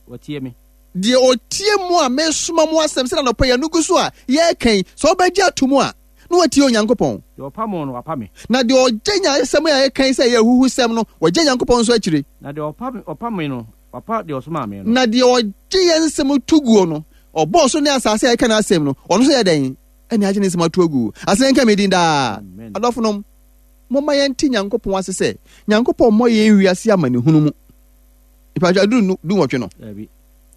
Ɔtie me. Deɛ ɔtie mo a mesoma mo asɛm sɛ anɔpa yi ano gu so a yɛreka yi, sɛ ɔbɛgye ato mu a, na watie Onyankopɔn. Deɛ ɔpa mo no, wapa me. Na deɛ ɔgye nya asɛm a yɛka yi sɛ ɛyɛ ahuhusɛm no, wagye Nyankopɔn nso akyire. Na deɛ ɔpa me no, Wapa deɛ ɔsomaa me no. Na deɛ ɔgye yɛn nsɛm to guo no, ɔbɔɔ soro ne asase a yɛka n'asɛm no, ɔno nso yɛ dɛn? Ɛne agye ne nsɛm ato agu. Aseda nka me din daa. Amen. Adɔfonom, momma yɛnte Nyankopɔn ase sɛ, Nyankopɔn mmɔ yɛn wiase amanehunu mu. Mpatwa aduru nu 18 no. Dabi.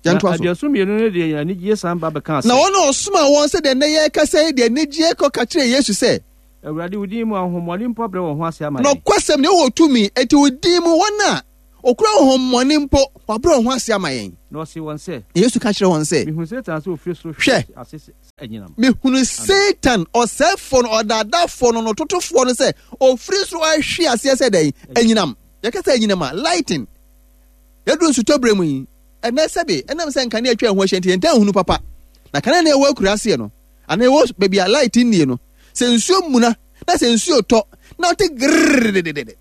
Yɛntoa Na so. aduɔson mmienu no de anigyeɛ san ba bɛkaa Na sɛ. wɔn a ɔsomaa wɔn sɛdeɛ nnɛ yɛrekasa yi de anigyeɛ kɔka kyerɛɛ Yesu sɛ, Awurade, wo din mu, ahonhommɔne mpo abrɛ wɔn ho ase ama yɛn. Nokwasɛm ni, wowɔ tumi, enti wo din mu, wɔn a wɔkura ahonhommɔne mpo, wɔabrɛ wɔn ho ase ama yɛn. Na ɔsee wɔn sɛ. Na Yesu ka kyerɛɛ wɔn sɛ. Mehunu Satan sɛ ɔfiri soro hwe ase sɛ anyinam. Mehunu Satan, ɔsɛefoɔ no, ɔdaadaafoɔ no, ɔtotofoɔ no sɛ ɔfiri soro ahwe aseɛ sɛ dɛn? Anyinam. Yɛka sɛ anyinam a, lighting. Yɛduru nsutɔberɛ mu yi, ɛnnɛ sɛbe ɛnam sɛ nkanea atwa yɛn ho ahyia nti, yɛntaa nhunu papa. Na kanea na ɛwɔ akuraseɛ no, anaa ɛwɔ baabi a light nnie no, sɛ nsuo muna na sɛ nsuo tɔ na ɔte grrrr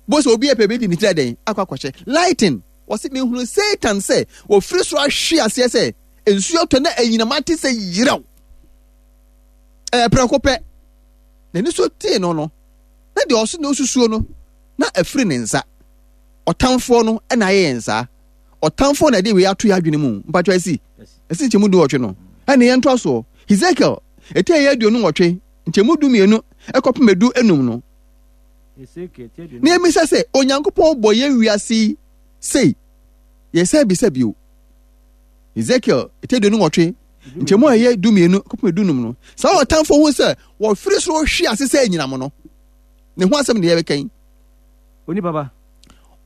bo sɛ obi ɛpɛ bi de ne tiri adɛn akɔ akɔhyɛ lighting. Wɔse mehunu Satan sɛ wɔfiri soro ahwe aseɛ sɛ nsuo tɔ na anyinam ate sɛ yerɛw. Ɛyɛ prɛko pɛ. N'ani so tee no no, na deɛ ɔso na ɔsusuo no, na afiri ne nsa. Ɔtamfoɔ no na ayɛ yɛn saa. Ɔtamfoɔ na ɛde wei ato yɛn adwene mu. Mpatwa asi. Ɛsi nkyɛmu 18 no. Ɛne yɛn ntoa soɔ. Hesekiel, ɛti ɛyɛ 28, nkyɛmu 12 ɛkɔpem 15 no. Na yɛmmisa sɛ, Onyankopɔn bɔ yɛn wiase yi sei? Yɛsan bisa bio. Hesekiel, ɛti 28, nkyɛmu a ɛyɛ 12 kɔpem 15 no. Saa ɔtamfoɔ ho sɛ wɔfiri soro hwe ase sɛ anyinam no. Ne ho asɛm na yɛbɛka yi. Onipa ba.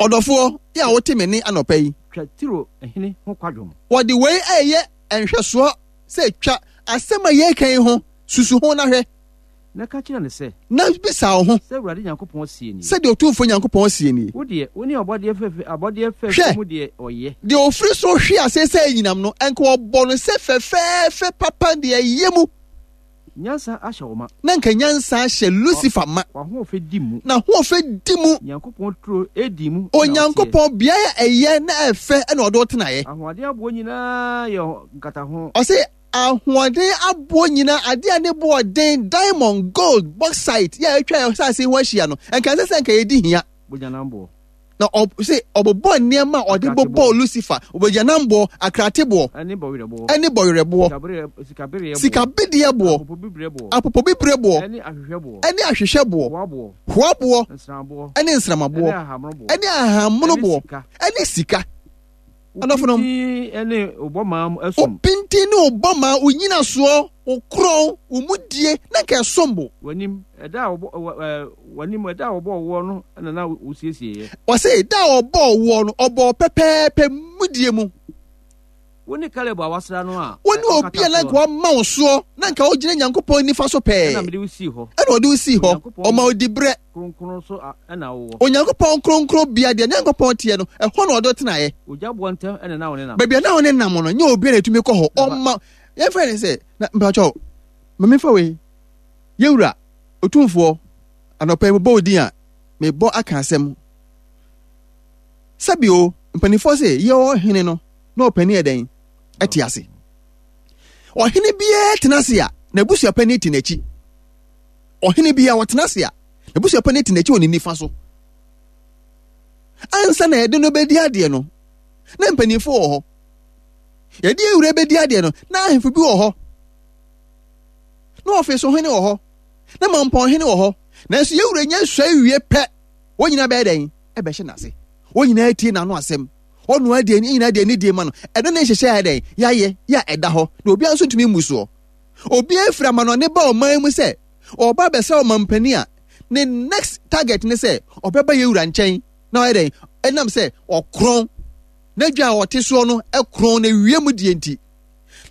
Ɔdɔfoɔ, yɛ a wote me nne anɔpa yi. Twa Tiro hene ho kwadwom. Wɔde wei reyɛ nhwɛsoɔ sɛ twa asɛm a yɛreka yi ho, susu ho na hwɛ. Na ka kyerɛ no sɛ. Na bisa wo ho. Sɛ Awurade Nyankopɔn seɛ nie. Sɛdeɛ Otumfoɔ Nyankopɔn seɛ nie. Wo deɛ, wo ne ɔbɔdeɛ fɛfɛ, abɔdeɛ fɛfɛ mu deɛ ɔyɛ. Hwɛ, deɛ ɔfiri soro hwe aseɛ sɛ anyinam no, anka wɔbɔ no sɛ fɛfɛɛfɛ papa deɛ ɛyɛ mu. Nyansa ahyɛ wo ma. Na anka nyansa ahyɛ Lucifer ma. W'ahoɔfɛ di mu. N'ahoɔfɛ di mu. Nyankopɔn turo Eden mu na woteɛ. Onyankopɔn beaeɛ a ɛyɛ na ɛfɛ na ɔde wo tenaeɛ. Ahoɔden aboɔ nyinaa yɛ nkataho. Ɔse ahoɔden aboɔ nyinaa, adeɛ a ne boɔ den, diamond, gold, bauxite, yɛ a atwa yɛn asase ho ahyia no, nka ɛnsɛ sɛ nka yɛdi hia. Bogyanamboɔ. Na ɔse ɔbobɔɔ nneɛma a ɔde bobɔɔ Lucifer, bogyanamboɔ, akrateboɔ, Ɛne bɔwerɛboɔ. ɛne bɔwerɛboɔ, Sikabereɛboɔ. sikabedeɛboɔ, Apopobibireboɔ. apopobibreboɔ, Ɛne ahwehwɛboɔ. ɛne ahwehwɛboɔ, Hoaboɔ. hoaboɔ, Nsramboɔ. ɛne nsramaboɔ, Ɛne ahahammonoboɔ. ɛne ahahammonoboɔ, Ɛne sika. ɛne sika. Wo Adɔfonom. pintinn ne wo bɔmaa mu Wo som. pintinn ne wo bɔmaa, wo nnyinasoɔ, wo korɔn, wo mudie, na anka ɛsom bo. W'anim, ɛda a wɔbɔ, wɔ, ɛ, w'anim, ɛda a wɔbɔɔ woɔ no na na wosiesieeɛ. Ɔse, da a wɔbɔɔ woɔ no, ɔbɔɔ wo pɛpɛɛpɛ mudie mu. Wo ne Kaleb a wɔasra no a Wo ne obi ɔkata a na anka soɔ. wama wo soɔ, na anka wogyina Nyankopɔn nifa so pɛɛ. Ɛna mede wo sii hɔ. Ɛna ɔde wo sii hɔ, Onyankopɔn ɔma wo diberɛ. Kronkron so na wowɔ. Onyankopɔn kronkron bea deɛ Nyankopɔn teɛ no, ɛhɔ na ɔde wo tenaeɛ. Ogya boɔ ntam na na wo ne nam. Baabi a na wo ne nam no, nyɛ obiara na ɛtumi kɔ hɔ. Ɔma, yɛmfa ne sɛ, na mpakyɛw, ma memfa wei. Yɛwura, Otumfoɔ, anɔpa yi mebɔ wo din a, mebɔ aka asɛm. Sɛbi o, mpanimfoɔ se, yɛ ɔhene no, na ɔpanin yɛ dɛn? Ɛte ase. Ɔhene biara tena ase a, n'abusuapanin te n'akyi. Ɔhene biara ɔtena ase a, n'abusuapanin te n'akyi wɔ ne nifa so. Ansa na yɛde no bɛdi adeɛ no, na mpanimfoɔ wɔ hɔ. Yɛde awura bɛdi adeɛ no, na ahemfo bi wɔ hɔ. Na ɔfeso hene wɔ hɔ. Na mampɔn hene wɔ hɔ. Nanso yɛwura nya sua wie pɛ, wɔn nyinaa bɛyɛ dɛn? Ɛbɛhyɛ n'ase. Wɔn nyinaa tie n'ano asɛm. Ɔno ara deɛ, nyinaa deɛ ne die ma no. Ɛno ne nhyehyɛ a dɛn? Yɛayɛ, yɛ a ɛda hɔ. Na obiara nso ntumi mmu soɔ. Obiara firi amanɔne ba ɔman mu sɛ ɔreba abɛsra ɔmampanin a, ne next target ne sɛ ɔbɛba yɛn wura nkyɛn na ɔyɛ dɛn? Ɛnam sɛ ɔkorɔn, n'adwa a ɔte soɔ no korɔn na wiem deɛ nti.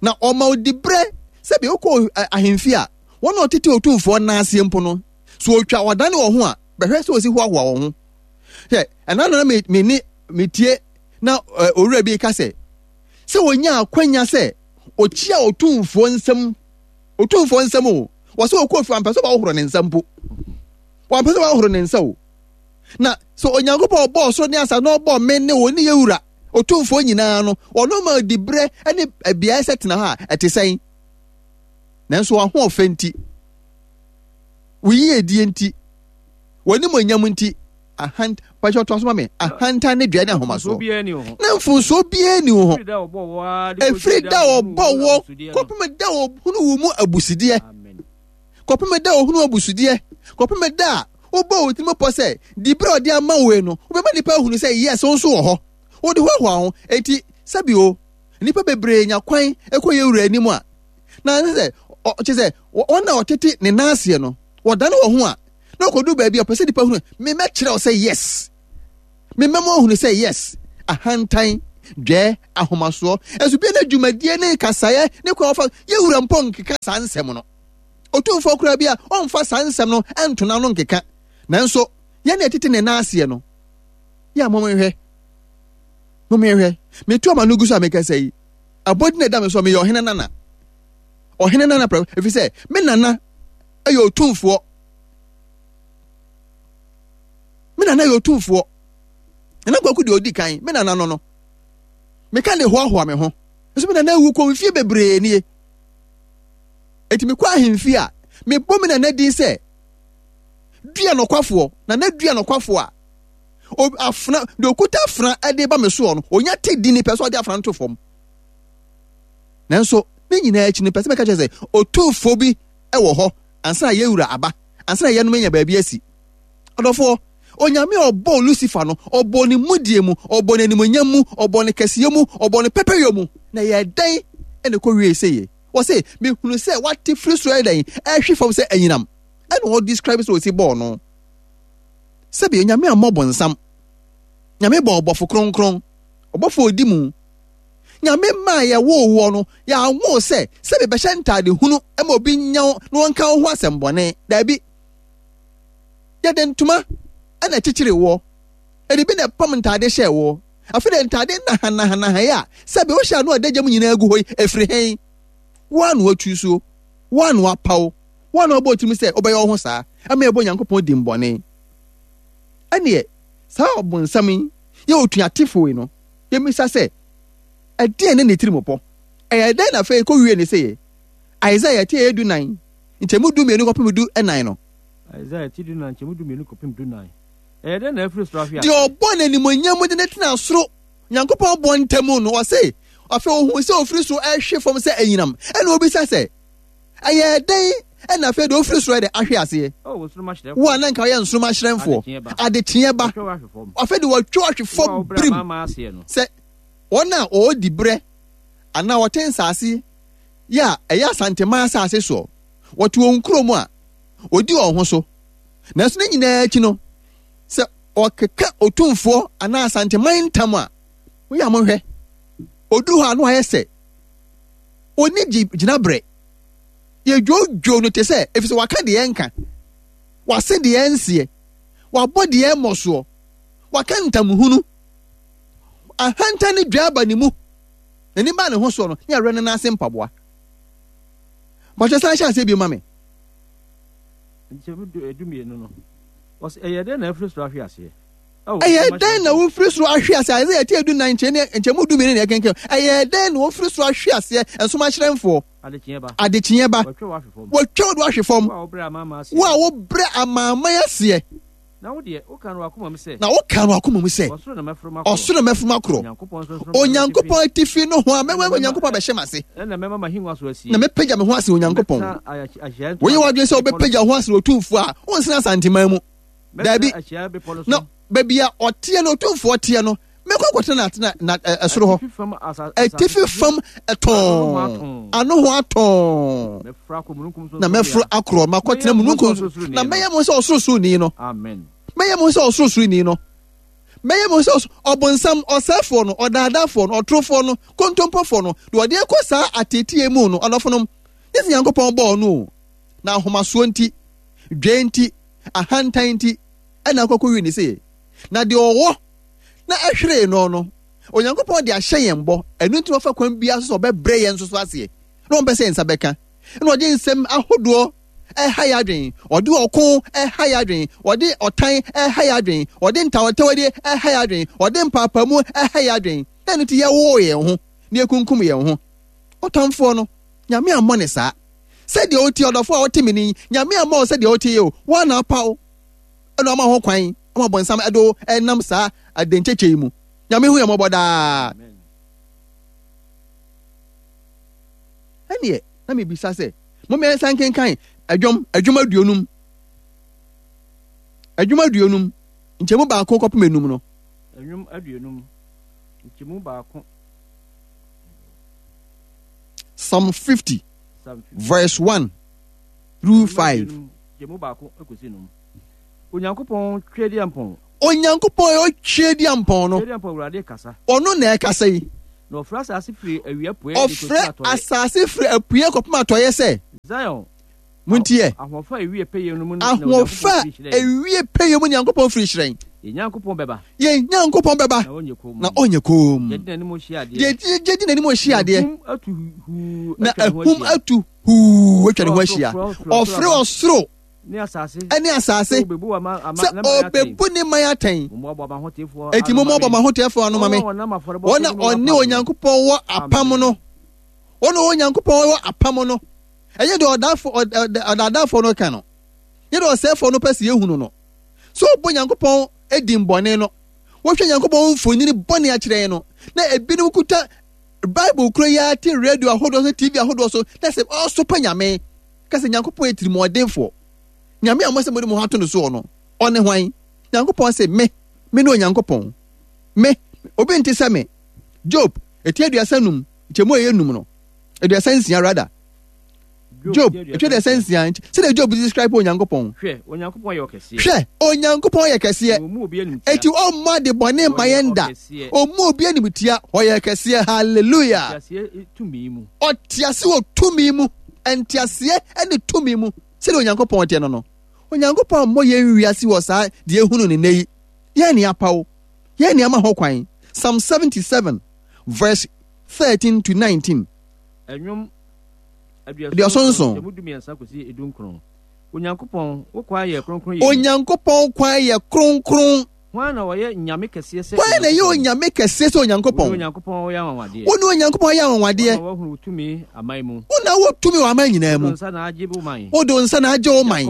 Na ɔma odi berɛ sɛ bia wokɔ ahemfie a, wɔn a ɔtete otumfoɔ nan aseɛ mpo no, so ɔtwa ɔdane wɔn ho a, bɛhwɛ sɛ ɔsi hoahoa wɔn ho. Hwɛ, ɛna na me, me ne metie na owura bi ka sɛ, sɛ wɔnya akwanya sɛ ɔkyia otumfoɔ nsam, otumfoɔ nsam o, wɔ sɛ ɔkɔ fie wampɛ sɛ ɔbɛhohoro ne nsa mpo, wampɛ sɛ ɔbɛhohoro ne nsa o. Na sɛ Onyankopɔn ɔbɔɔ soro ne asase na ɔbɔɔ me ne wo ne yɛ wura otumfoɔ nyinaa no, ɔno ma ɔdi berɛ ne beaeɛ sɛ tena hɔ a, ɛte sɛn? Nanso w'ahoɔfɛ nti, wo yiedie nti, w'animuonyam nti, ahant pakyɛ ɔtoa so ma me ahantan ne dua ne ahomasoɔ na mfomsoɔ biara ni wo ho ɛfiri da a ɔbɔ wɔ kɔpem da a ɔhunu wo mu abusudeɛ kɔpem da a ɔhunu abusudeɛ kɔpem da a wobɔ wo tirim pɔ sɛ diberɛ a ɔde ama wo no wobɛma nnipa ahunu sɛ yes wo nso wɔ hɔ wode hoahoa ho enti sɛbi o nnipa bebree nya kwan kɔ yɛ wura anim a na sɛ kyɛ sɛ wɔn a ɔtete ne nan aseɛ no. Wɔdane wɔn ho a, na wɔkɔdu baabi a ɔpɛ sɛ nipa hunu, memɛkyerɛ wo sɛ yes. Memɛma ohunu sɛ yes. Ahantan, dwɛɛ, ahomasoɔ, ɛnso bia na dwumadie ne kasaeɛ ne kwan wɔfa yɛwura mpo nkeka saa nsɛm no. Otumfoɔ koraa bi a ɔmfa saa nsɛm no nto n'ano nkeka. Nanso yɛn na yɛtete ne nan aseɛ no, yɛ a momhwɛ, momhwɛ, metu ama no gu so a mekasa yi, abɔdin na ɛda me so meyɛ ɔhene nana. Ɔhene nana prɛko, ɛfiri sɛ me nana yɛ otumfoɔ. Me nana yɛ otumfoɔ. Nana Kwaku deɛ ɔdi kan, me nana no no. Meka de hoahoa me ho. Nso me nana awu kɔ mfie bebree nie. Enti mekɔ ahemfie a, mebɔ me nana din sɛ dua nɔkwafoɔ, nana dua nɔkwafoɔ a afena deɛ ɔkuta afena de ba me soɔ no, ɔnya te din pɛ sɛ ɔde afena no to fam. Nanso ne nyinaa akyi no, pɛ sɛ mɛka kyerɛ sɛ otumfoɔ bi wɔ hɔ ansa na yɛwura aba, ansa na yɛnom anya baabi asi. Ɔdɔfoɔ, Onyame a ɔbɔɔ Lucifer no, ɔbɔɔ ne mudie mu, ɔbɔɔ ne animuonyam mu, ɔbɔɔ ne kɛseyɛ mu, ɔbɔɔ ne pɛpɛyɔ mu, na ɛyɛɛ dɛn na ɛkɔwiee seyie? Wɔse, mehunu sɛ wate firi soro ɛyɛ dɛn? Ɛrehwe fam sɛ anyinam. Ɛna ɔ describe sɛ ɔsi bɔɔ no. Sɛbi, Onyame ammɔ bonsam. Nyame bɔɔ ɔbɔfo kronkron, ɔbɔfo a ɔdi mu. Nyame maa yɛwoo woɔ no, yɛanwo wo sɛ, sɛbi bɛhyɛ ntaade hunu ma obi nya wo na ɔnka wo ho asɛm bɔne. Daabi. Yɛde ntoma na ɛkyekyeree woɔ. Yɛde bi na ɛpam ntaade hyɛɛ woɔ. Afei deɛ ntaade nahanahanahayɛ a sɛbe wohyɛ ano adagya mu nyinaa gu hɔ yi, ɛfiri he? Wo ara na woatusuo, wo ara na woapaw, wo ara na woabɔ wo tirim sɛ wobɛyɛ wo ho saa ama yɛabɔ Onyankopɔn dimmɔne. Ɛnneɛ, saa ɔbonsam yi yɛ otuatefo yi no, yɛmmisa sɛ, ɛdeɛn ne ne tirimupɔ? Ɛyɛ dɛn na afei ɛkɔwie ne seyɛ? Isaiah ti a ɛyɛ dunan, nkyɛmu dumienu kɔpem du nnan no. Isaiah ti dunan, nkyɛmu dumienu kɔpem dunan. Ɛyɛ dɛn na afiri soro ahwe ase? Deɛ ɔbɔɔ no animuonyam mu de no tenaa soro Nyankopɔn bɔ ntam no, ɔse, afei ohuu sɛ ofiri soro rehwe fam sɛ anyinam, ɛna obisa sɛ, Ɛyɛɛ dɛn na afei deɛ ofiri soro de ahwe aseɛ? Wo a na nka woyɛ nsoromma hyerɛnfoɔ, adekyeɛ ba, afei deɛ wɔatwa wo ahwe fam birim sɛ wɔn a wɔwɔ diberɛ anaa wɔte nsaase yi a ɛyɛ Asanteman asase soɔ, wɔte wɔn nkuro mu a, wɔdi wɔn ho so. Nanso ne nyinaa akyi no, sɛ ɔkeka otumfoɔ anaa Asanteman ntam a, moyɛ a monhwɛ. Ɔduru hɔ a na wayɛ sɛ ɔnni gyinaberɛ. Yɛdwoodwoo no te sɛ, ɛfiri sɛ waka deɛ ɛnka, wase deɛ ɛnseɛ, wabɔ deɛ ɛmmɔ soɔ, waka ntamhunu. Ahantan ne dwa aba ne mu. N'ani baa ne ho soɔ no, ne awerɛ ne nan ase mpaboa. Bɔhyɛ san hyɛ aseɛ bio ma me. Nkyɛmu dumienu no, ɔse, Ɛyɛɛ dɛn na afiri soro ahwe aseɛ? Ɛyɛɛ dɛn na wofiri soro ahwe aseɛ? Isaiah ti edunan nkyɛmu dumienu na yɛkenkan. Ɛyɛɛ dɛn na wofiri soro ahwe aseɛ? Nsom ahyerɛnfoɔ. Adekyeɛ ba. Adekyeɛ ba. Wɔatwa wo ahwe fam. Wɔatwa wo de ahwe fam. Wo a wobrɛ amanaman aseɛ. Wo a wobrɛ amanaman aseɛ. Na wo deɛ, wokaa no w'akoma mu sɛ. Na wokaa no w'akoma mu sɛ. Ɔsoro na mɛforo makorɔ. Ɔsoro na mɛforo makorɔ. Onyankopɔn Onyankopɔn atifi nohoa mɛma Onyankopɔn abɛhyɛ m'ase. Ɛnna mɛma m'ahengua so asie. Na mɛpagya me ho asen Onyankopɔn. Woyɛ w'adwene sɛ wobɛpagya wo ho asen Otumfoɔ a, wonsene Asanteman mu. Daabi. Na baabi a ɔteɛ no, Otumfoɔ teɛ no, mɛkɔ akɔtena n'atena na ɛsoro hɔ. Atifi fam ɛtɔn, ano ho atɔn. Na mɛforo akorɔ makɔtena mununkum so. Na mɛyɛ mo sɛ ɔsorosoroni no. Mɛyɛ mo sɛ ɔsorosoroni no. Mɛyɛ mo sɛ ɔbonsam, ɔsɛefoɔ no, ɔdaadaafoɔ no, ɔtorofoɔ no, kontompofoɔ no, deɛ ɔde kɔ saa ateetee mu no, ɔdɔfonom, nyɛ sɛ Nyankopɔn bɔɔ no o, na ahomasoɔ nti, dwɛɛ nti, ahantan nti, ɛna akɔkɔwie ne sei. Na deɛ ɔwɔ na ɛhweree no no, Onyankopɔn de ahyɛ yɛn bɔ, ɛno nti na ɔfa kwan biara so sɛ ɔbɛbrɛ yɛn nso so aseɛ, na ɔmpɛ sɛ yɛn nsa bɛka, ɛna ɔde nsɛm ahodoɔ ɛha yɛn adwene, ɔde ɔko ɛha yɛn adwene, ɔde ɔtan ɛha yɛn adwene, ɔde ntawɔtawɔdie ɛha yɛn adwene, ɔde mpaapaemu ɛha yɛn adwene, na ɛno nti yɛwoo yɛn ho na yɛkunkum yɛn ho. Ɔtamfoɔ no, Nyame ammɔ ne saa. Sɛdeɛ wotie ɔdɔfoɔ a wote me ni, Nyame ammɔ wo sɛdeɛ wote yi o, wo ara na apa wo, ɛna ɔma ho kwan ama bɔnsam ɛde wo ɛnam saa adenkyɛkyɛ yi mu. Nyame hu yɛn mmɔbɔ daa. Ɛneɛ, na mebisa sɛ, Momma yɛnsan nkenkan Dwom, Dwom aduonum, Dwom aduonum, nkyɛmu baako kɔpem enum no. Dwom aduonum, nkyɛmu baako. Psalm 50, verse 1 through 5. Nkyɛmu baako kɔsi num. Onyankopɔn Tweaduampɔn. Onyankopɔn a ɔyɛ Tweaduampɔn no. Tweaduampɔn Awurade kasa. Ɔno na ɛkasa yi. Na ɔfrɛ asase firi awia apueɛ de kɔsi Ɔfrɛ atɔeɛ. asase firi apueɛ kɔpem atɔeɛ sɛ. Zion. Montie. Ahoɔfɛ a ɛwie pɛyɛ no mu na Ahoɔfɛ Onyankopɔn a firi hyerɛn. ɛwie pɛyɛ mu Nyankopɔn firi hyerɛn. Yɛn Nyankopɔn bɛba. Yɛn Nyankopɔn bɛba. Na ɔnyɛ komm. Na ɔnyɛ komm. Deɛ di n'anim hyia adeɛ. Deɛ gye di n'anim hyia adeɛ. Na ahum atu huu Na atwa ne ho ahum ahyia. atu huu atwa ne ho ahyia. Ɔfrɛ Ɔfrɛ ɔsoro ne asase. ne asase Sɛ ɔbɛbu ama ama sɛ ne man atɛn. ɔbɛbu ne man atɛn. Mommoaboa mo ahotefoɔ Enti ano ma mommoaboa me. mo ahotefoɔ ano ma me. Wɔn a wɔnam afɔrebɔ Wɔn so a ne me wɔ ɔne apam no. Onyankopɔn wɔ apam no. Wɔn a Onyankopɔn wɔ apam no. Ɛnyɛ deɛ ɔdaafo ɔdaadaafoɔ no ka no. Nyɛ deɛ ɔsɛefoɔ no pɛ sɛ yɛhunu no. Sɛ ɔbɔ Nyankopɔn din bɔne no, wɔhwɛ Nyankopɔn mfonini bɔne akyerɛ yɛn no, na ebinom kuta Bible koro yi ara te radio ahodoɔ so, TV ahodoɔ so, na sɛ ɔsopa Nyame, ka sɛ Nyankopɔn yɛ tirimɔdenfoɔ. Nyame a mo sɛ mode mo ho ato no soɔ no, ɔne hwan? Nyankopɔn se, me, me ne Onyankopɔn. Me, obi nte sɛ me. Job, eti 35, nkyɛmu a ɛyɛ num no, 36 rather. Job, eti 36, sɛdeɛ Job describe Onyankopɔn. Hwɛ, Onyankopɔn yɛ ɔkɛseɛ. Hwɛ, Onyankopɔn yɛ kɛseɛ. Na ɔmmu obi animtia. Eti ɔmmɔ ade bɔne mma yɛn da. Ɔmmu obi animtia. Ɔyɛ kɛseɛ. Hallelujah. Ɔte aseɛ tumi mu. Ɔte ase wɔ tumi mu. Nteaseɛ ne tumi mu. Sɛdeɛ Onyankopɔn teɛ no no. Onyankopɔn ammɔ yɛn wiase wɔ saa deɛ ehunu ne nnɛ yi. Yɛn ne apaw. Yɛn ne ama ho kwan. Psalm 77 verse 13 to 19. Ɛnwom 77. Nkyɛmu 13 kɔsi 19. Onyankopɔn, wo kwan yɛ kronkron yɛ. Onyankopɔn kwan yɛ kronkron. Hwan na ɔyɛ nyame kɛseɛ sɛ Hwan na ɛyɛ onyame kɛseɛ sɛ Onyankopɔn? Wo ne Onyankopɔn yɛ anwanwadeɛ. Wo ne Onyankopɔn yɛ anwanwadeɛ. Wo na wɔahunu wo tumi aman mu. Wo na wɔ tumi wɔ aman nyinaa mu. Wode wo nsa na agye wo man. Wode wo nsa na agye wo man.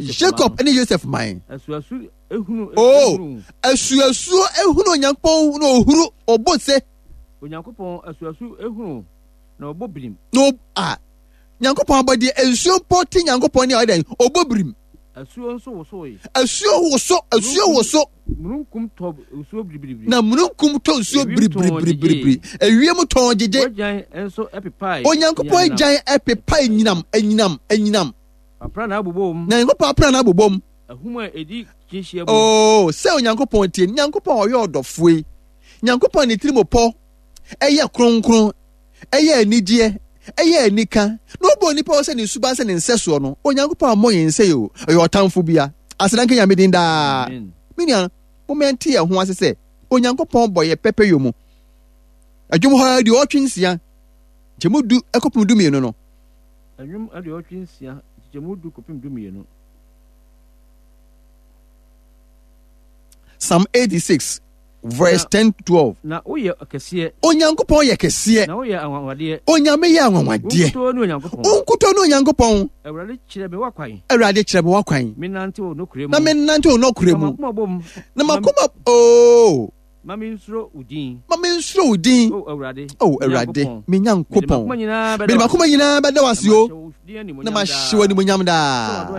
Jacob ne Joseph man. Asuasu ehunu. Oh, asuasuo ehunu Onyankopɔn na ohuru ɔbɔ se. Onyankopɔn asuasu ehunu na ɔbɔ birim. Na a Nyankopɔn abɔdeɛ nsuo mpo te Nyankopɔn ne a ɔyɛ dɛn ɔbɔ birim. Asuo nso wosoe. Asuo woso, asuo woso. Mununkum tɔ nsuo biribiribiri. Na mununkum tɔ nsuo biribiribiribiri. Ewiem tɔn gyegye. W'agyan nso ɛpepae. Onyankopɔn agyan ɛpepae nyinam, anyinam, anyinam. Aprannaa bobom. Na Nyankopɔn aprannaa bobom. Ahum a edi kyinhyia mu. Oo, sɛ Onyankopɔn tie, Nyankopɔn a ɔyɛ ɔdɔfoɔ yi, Nyankopɔn ne tirimopɔ ɛyɛ kronkron, ɛyɛ anigyeɛ, ɛyɛ anika, na ɔbɔ onipa hɔ sɛ ne suban sɛ ne nsɛsoɔ no, Onyankopɔn ammɔ yɛn sɛ o, ɔyɛ ɔtamfo bia. Aseda nka Nyame din daa. Me nua, momma yɛnte yɛn ho ase sɛ Onyankopɔn bɔ yɛ pɛpɛyɔ mu. Adwom hɔ 86, nkyɛmu du kɔpem 12 no. Ɛnwom 86, nkyɛmu du kɔpem 12. Psalm 86 verse 10 to 12. Na woyɛ kɛseɛ. Onyankopɔn yɛ kɛseɛ. Na woyɛ anwanwadeɛ. Onyame yɛ anwanwadeɛ. Wo nkutoo ne Onyankopɔn. Wo nkutoo ne Onyankopɔn. Awurade kyerɛ me w'akwan. Awurade kyerɛ me w'akwan. Menante wo nokorɛ mu. Na menante wo nokorɛ mu. Na m'akoma bom. Na m'akoma ooo. Ma mensuro wo din. Ma mensuro wo din. O Awurade. O Awurade, me Nyankopɔn. Mede m'akoma nyinaa bɛda wo ase o. Na mahyɛ wo animuonyam daa.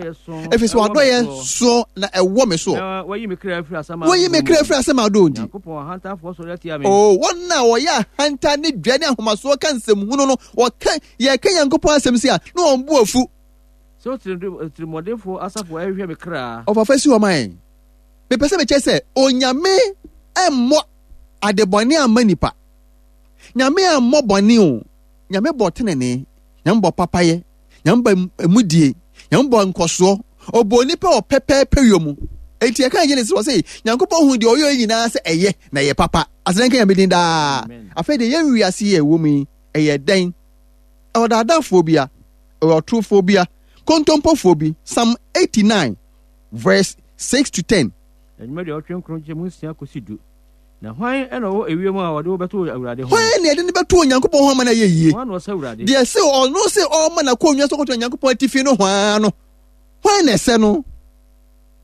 Ɛfiri sɛ w'adɔeɛ soɔ na ɛwɔ me soɔ. Wayi me kra afiri Wayi me kra afiri asamando nti. Nyankopɔn ahantanfoɔ sɔre atia me. O wɔn a wɔyɛ ahantan ne dwa ne ahomasoɔ ka nsɛmhunu no, wɔka yɛka Nyankopɔn asɛm si a, na wɔn bo afu. Sɛ otirimuɔdenfoɔ asafo ɛhwehwɛ me kra. Ɔfafa si hɔ ma yɛn. Mepɛ sɛ mekyerɛ sɛ Onyame mmɔ adebɔne amma nipa. Nyame ammɔ bɔne o. Nyame bɔ tenenee. Nyame bɔ papayɛ. Nyame bɔ emudie. Nyame bɔ nkɔsoɔ. Ɔbɔ nipa wɔ pɛpɛɛpɛ yɔ mu. Enti ɛka Genesis wɔ sɛ Nyankopɔn hu deɛ ɔyɛ nyinaa sɛ ɛyɛ na ɛyɛ papa. Aseda nka Nyame din daa. Afei deɛ yɛn wiase yi a ɛwɔ mu yi, ɛyɛ dɛn? Ɛwɔ daadaafoɔ bia, ɛwɔ ɔtorofoɔ bia, kontompofoɔ bi. Psalm 89 verse 6 to 10. Nnwom 89 nkyɛmu 6 kɔsi 10. Na hwan na ɔwɔ ewiem a ɔde wo bɛto Awurade ho? Hwan na yɛde no bɛto Onyankopɔn ho ama no ayɛ yie? Hwan na ɔsɛ Awurade? Deɛ sɛ ɔno sɛ ɔma n'akonnwa so kɔto Onyankopɔn atifi no hwan no? Hwan na ɛsɛ no?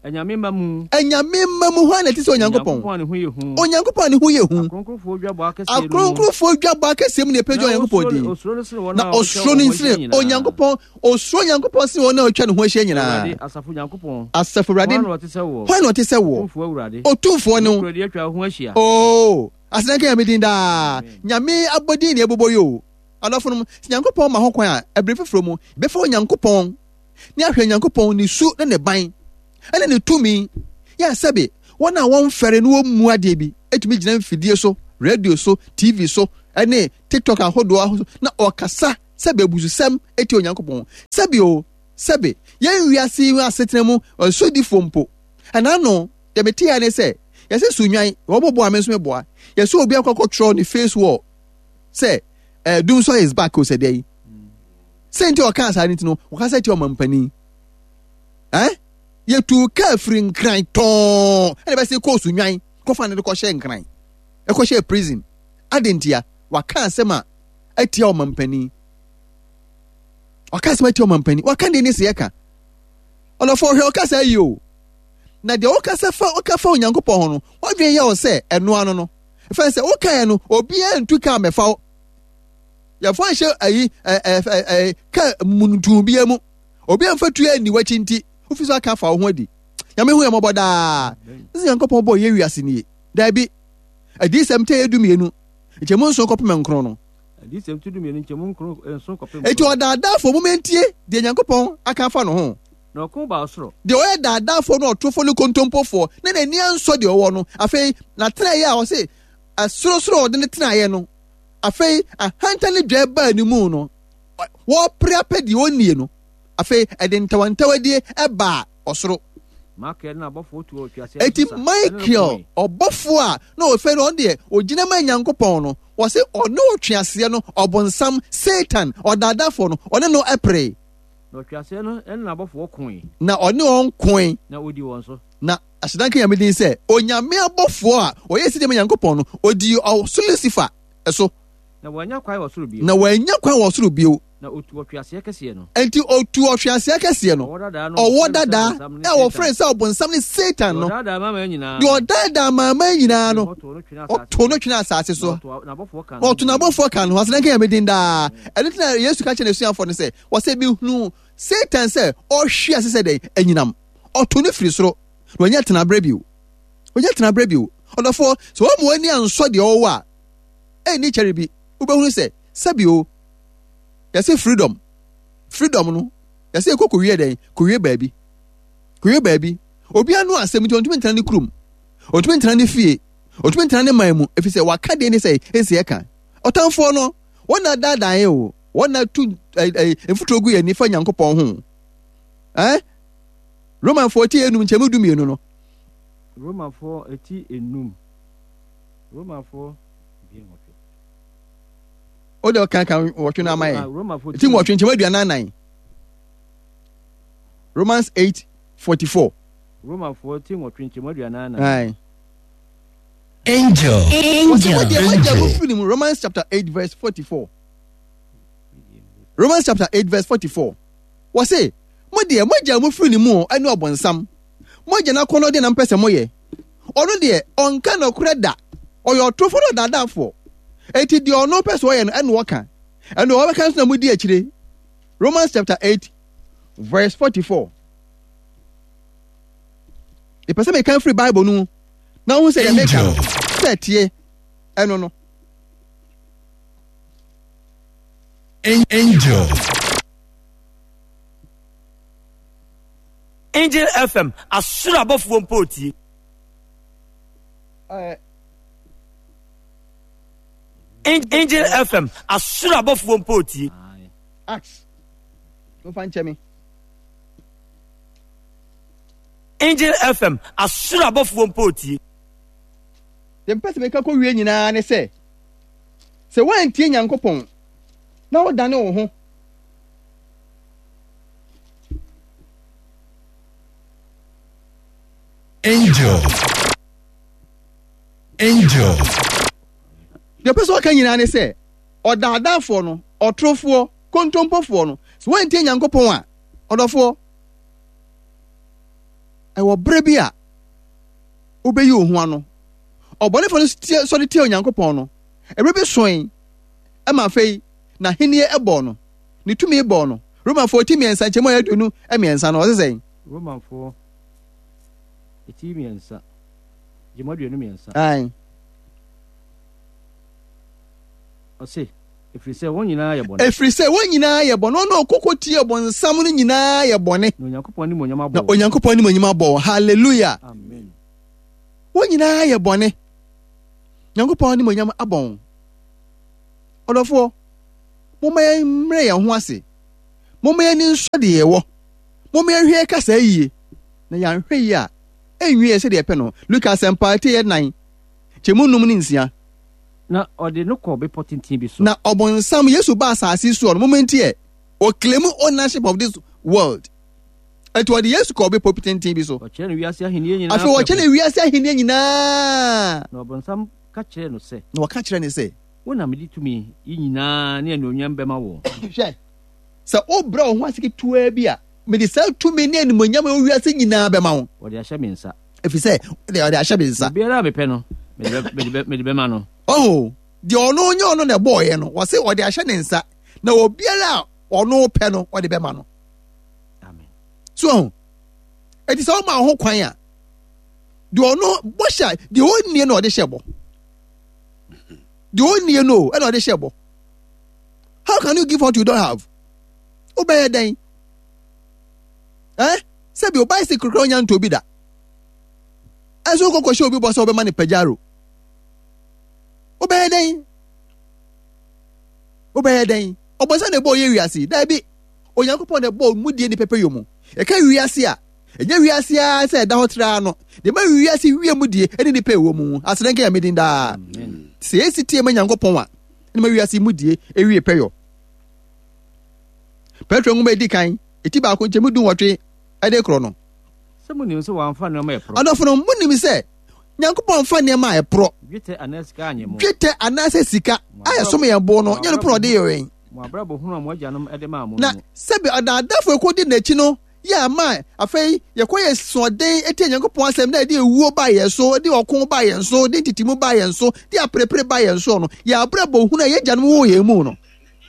Anyame mma mu. Anyame mma mu hwan na ɛte sɛ Onyankopɔn? Onyankopɔn a ne ho yɛ hu. Onyankopɔn a ne ho yɛ hu. Akronkronfoɔ dwabɔ akɛseɛ no mu. Akronkronfoɔ dwabɔ akɛseɛ mu na ɛpɛgya Onyankopɔn din. Osuro no sene wɔn Na a osuro no wɔatwa wɔn ho sene ahyia nyinaa. Onyankopɔn, osuro Onyankopɔn sene wɔn a wɔatwa ne ho ahyia nyinaa. Awurade, asafo Nyankopɔn. Asafo Awurade. Hwan na ɔte sɛ woɔ? Hwan na ɔte sɛ woɔ? Otumfoɔ Awurade. Otumfoɔ ne wo. Nokorɛdie atwa wo ho ahyia. Oo, aseda nka Nyame din daa. Amen. Nyame abɔdin na yɛbobɔ yi o. Adɔfonom, sɛ Nyankopɔn ma ho kwan a, ɛbere foforɔ mu, yɛbɛfa Onyankopɔn. ne ahwɛ Nyankopɔn ne su ne ne ban ɛne ne tumi. Yɛ a sɛbe wɔn a wɔmfɛre na wɔmmu adeɛ bi tumi gyina mfidie so, radio so, TV so, ɛne TikTok ahodoɔ so na ɔkasa sɛbe abususɛm tia Onyankopɔn. Sɛbe o, sɛbe yɛn wiase yi asetena mu sodifoɔ mpo. Ɛna ano, deɛ meteɛ ne sɛ, yɛsɛ sunwan, wɔn boa me nso meboa. Yɛsɛ obi akɔkɔtwerɛ ne face wall sɛ eh, Dumsor is back o sɛ deɛ yi. Sɛ nti ɔkaa saa no nti no, ɔkasa tia ɔmampanin. Eh? Yɛtuu kaa firi Nkran tɔɔ ɛna bɛsɛ kɔɔ Sunwan kɔfa no de kɔhyɛ Nkran. Ɛkɔhyɛ prison. Adɛn ntia? Waka asɛm a atia ɔmampanin. Waka asɛm atia ɔmampanin. Waka deɛ ne sɛ yɛka. Ɔdɔfoɔ hwɛ ɔkasa yi o. Na deɛ wokasa fa woka fa Onyankopɔn ho no, wadwene yɛ wo sɛ ɛno ano no. Ɛfɛn sɛ wokaeɛ no, obiara ntu kaa mɛfa wo. Yɛfa nhyɛ ayi ɛ ɛ ɛ kaa muntum biara mu. Obi amfa tuo anni w'akyi nti, wofi so aka afa wo ho adi. Nyame hu yɛn mmɔbɔ daa. Sɛ Nyankopɔn bɔɔ yɛ wiase nie. Daabi. Adiyisɛm tɛ yɛ 12, nkyɛmu nson kɔpem nkron no. Adiyisɛm ti 12 nkyɛmu nson kɔpem nkron. Enti ɔdaadaafoɔ, momma yɛntie deɛ Nyankopɔn aka afa no ho. Na ɔko baa ɔsoro. Deɛ ɔyɛ daadaafoɔ ne ɔtorofoɔ ne kontompofoɔ, na n'ani ansɔ deɛ ɔwɔ no. Afei, n'atenaeɛ a ɔse ɛsorosoro a ɔde no tenaeɛ no, afei ahantan ne dwɛɛ baa ne mu no, wɔrepere apɛ deɛ ɔnnie no, afei ɛde ntawantawadie baa ɔsoro. Enti Michael, ɔbɔfoɔ a na ɔfɛ no, ɔno deɛ ɔgyina ma Nyankopɔn no, wɔse ɔne ɔtweaseɛ no, ɔbonsam, Satan, ɔdaadafoɔ no, ɔne no peree. Na ɔtweaseɛ no ne n'abɔfoɔ koe. Na ɔne wɔn koe. Na ɔdii wɔn so. Na aseda nka Nyame din sɛ, Onyame abɔfoɔ a wɔyɛ sɛdeɛ ma Nyankopɔn no, ɔdii ɔsoro Lucifer so. Na wannya kwan wɔ soro bio. Na wannya kwan wɔ soro bio. Na ɔtuu ɔtweaseɛ kɛseɛ no. Enti ɔtuu ɔtweaseɛ kɛseɛ no. Ɔwɔ dadaa no, a wɔfrɛ no sɛ ɔbonsam ne Satan no. Deɛ ɔdaadaa amanaman nyinaa no. Deɛ ɔdaadaa amanaman nyinaa no. Ɔtoo no twenee asase so. Na ɔtoo n'abɔfoɔ ka ne ho. Aseda nka Nyame din daa. Ɛno nti na Yesu ka kyerɛɛ n'asuafoɔ no sɛ, wɔsɛ mehunuu Satan sɛ ɔrehwe ase sɛ dɛn? Anyinam. Ɔtoo no firi soro. Na wannya tenaberɛ bio. Wannya tenaberɛ bio. Ɔdɔfoɔ, sɛ woamma w'ani ansɔ deɛ ɔwɔ a, ɛnni kyɛre bi wobɛhunu sɛ sɛbi o yɛse freedom freedom no yɛse ɛkɔ kɔwie dɛn kɔwie baabi kɔwie baabi obi ano asɛm nti ɔntumi ntena ne kurom ɔntumi ntena ne fie ɔntumi ntena ne man mu ɛfiri sɛ waka deɛ ne sɛ ɛsɛ ɛka ɔtamfoɔ no wɔn na daadaa yɛ o wɔn na tu mfuturo gu yɛn nifa Nyankopɔn ho eh Romanfoɔ ti enum nkyɛn mu 12 no. Romanfoɔ ti enum. Romafoɔ 18. O de ɔka ka nwɔtwe no ama yɛn. Ti nwɔtwe nkyɛn 44. Romans 8:44. Romafoɔ ti nwɔtwe nkyɛn 44. Aye. Angel. Angel. Angel. Romans chapter 8 verse 44. Romans chapter 8 verse 44. Wɔse, mo deɛ moagya mo firi ne mu ɛne ɔbonsam. Moagya n'akɔnnɔ deɛ na mpɛ sɛ moyɛ. Ɔno deɛ, ɔnka nokorɛ da. Ɔyɛ ɔtorofoɔ ne ɔdaadaafoɔ. Enti deɛ ɔno pɛ sɛ ɔyɛ no, ɛna ɔka. Ɛna ɔbɛka nso na modi akyire. Romans chapter 8 verse 44. Mepɛ sɛ meka firi Bible no mu na wohu sɛ deɛ meka no sɛ ɛteɛ ɛno no. Angel. Angel FM, asoro abɔfoɔ mpo retie. Angel FM, asoro abɔfoɔ mpo retie. Acts, mofa nkyɛ me. Angel FM, asoro abɔfoɔ mpo retie. Deɛ mepɛ sɛ meka kɔwie nyinaa ne sɛ, sɛ woantie Nyankopɔn na wodane wo ho Angel. Angel. Deɛ ɔpɛ sɛ ɔka nyinaa ne sɛ, ɔdaadaafoɔ no, ɔtorofoɔ, kontompofoɔ no, sɛ woantie Nyankopɔn a, ɔdɔfoɔ, ɛwɔ berɛ bi a wobɛyi wo ho ano. Ɔbɔnefoɔ no sɔre tia Onyankopɔn no, ɛberɛ bi soe ma afei n'ahennie bɔɔ no. Ne tumi bɔɔ no. Romanfoɔ ti mmiɛnsa nkyɛmu a 23 no, ɔse sɛn? Romanfoɔ ti mmiɛnsa nkyɛmu 23. Ae. Ɔse, Ɛfiri sɛ wɔn nyinaa yɛ bɔne. Ɛfiri sɛ wɔn nyinaa yɛ bɔne. Wɔn a wɔkɔkɔ tie ɔbonsam no nyinaa yɛ bɔne. Na Onyankopɔn animuonyam abɔ Na wɔn. Onyankopɔn animuonyam abɔ wɔn. Hallelujah. Amen. Wɔn nyinaa yɛ bɔne. Nyankopɔn animuonyam abɔ wɔn. Ɔdɔfoɔ, momma yɛmmrɛ yɛn ho ase. Momma yɛn ani nsɔ deɛ yɛwɔ. Momma yɛnhwɛ yɛn kasa yie. Na yɛanhwɛ yie a, ɛnwie yɛn sɛdeɛ yɛpɛ no. Luka Asɛmpa ti yɛ nan, kyɛmu num ne nsia. Na ɔde no kɔɔ bepɔ tenten bi so. Na ɔbonsam, Yesu baa asase soɔ no, momma nti ɛ, ɔclaimu ownership of this world. Ɛnti ɔde Yesu kɔɔ bepɔ tenten bi so. Ɔkyerɛ no wiase ahenni nyinaa Afei ɔkyerɛ no wiase ahenni nyinaa. Na ɔbonsam ka kyerɛɛ no sɛ. Na ɔka kyerɛɛ no sɛ. Wo na mede tumi yi nyinaa ne anuonyam bɛma wo. Hwɛ, sɛ wobrɛ wo ho ase ketewaa bi a, mede saa tumi ne animuonyam a ɛwɔ wiase nyinaa bɛma wo. Wɔde ahyɛ me nsa. Ɛfiri sɛ, wɔde ahyɛ me nsa. Obiara a mepɛ no, mede bɛma no. Ɔho, deɛ ɔno nyɛ ɔno na ɛbɔɔyɛ no, wɔse ɔde ahyɛ ne nsa, na obiara a ɔno pɛ no, ɔde bɛma no. Amen. So ɔho, ɛti sɛ ɔma ho kwan a, deɛ ɔno bɔhyɛ deɛ ɔnnie na ɔde hyɛ bɔ. Deɛ ɔnnie no ɛna ɔde hyɛ bɔ. How can you give what you don't have? Wobɛyɛ dɛn? Eh? Sɛbi o bicycle kura onya ntɔ bi da. Ɛnso wokɔkɔ hyɛ obi bɔ sɛ wobɛma no pajaro. Wobɛyɛ dɛn? Wobɛyɛ dɛn? Ɔbɔnsa na ɛbɔɔ yɛ wiase. Daabi. Onyankopɔn na ɛbɔɔ mu die ne pɛpɛyɔ mu. Yɛka wiase a, ɛnyɛ wiase ara sɛ ɛda hɔ traa no. Deɛ ɛma wiase wie mu die ne nipa ɛwɔ mu. Aseda nka Nyame din daa. Sɛ yɛsi tie ma Nyankopɔn a, ɛna ma wiase mu die ewie pɛyɔ. Petro nwoma edi kan, eti baako nkyɛmu 18 ɛde korɔ no. Sɛ munim sɛ wɔamfa nneɛma a ɛporɔ. Adɔfo no, munim sɛ Nyankopɔn mfa nneɛma a ɛporɔ. Dwetɛ anaa sika anyɛ mo. Dwetɛ anaasɛ sika a ɛsom yɛn bo no, nyɛ no porɔ ɔde yɛ yɛn. Mo abrabɔ hunu a mo agyanom de maa mo no Na mu. sɛbe ɔdaadaafo a ekodi n'akyi no yɛ ama afei yɛkɔyɛ asoɔden tia Nyankopɔn asɛm na ɛde ewuo baa yɛn so, de ɔko baa yɛn so, de ntetemu baa yɛn so, de aperepere baa yɛn soɔ no, yɛn abrabɔ hunu a yɛn agyanom woo yɛn mu no.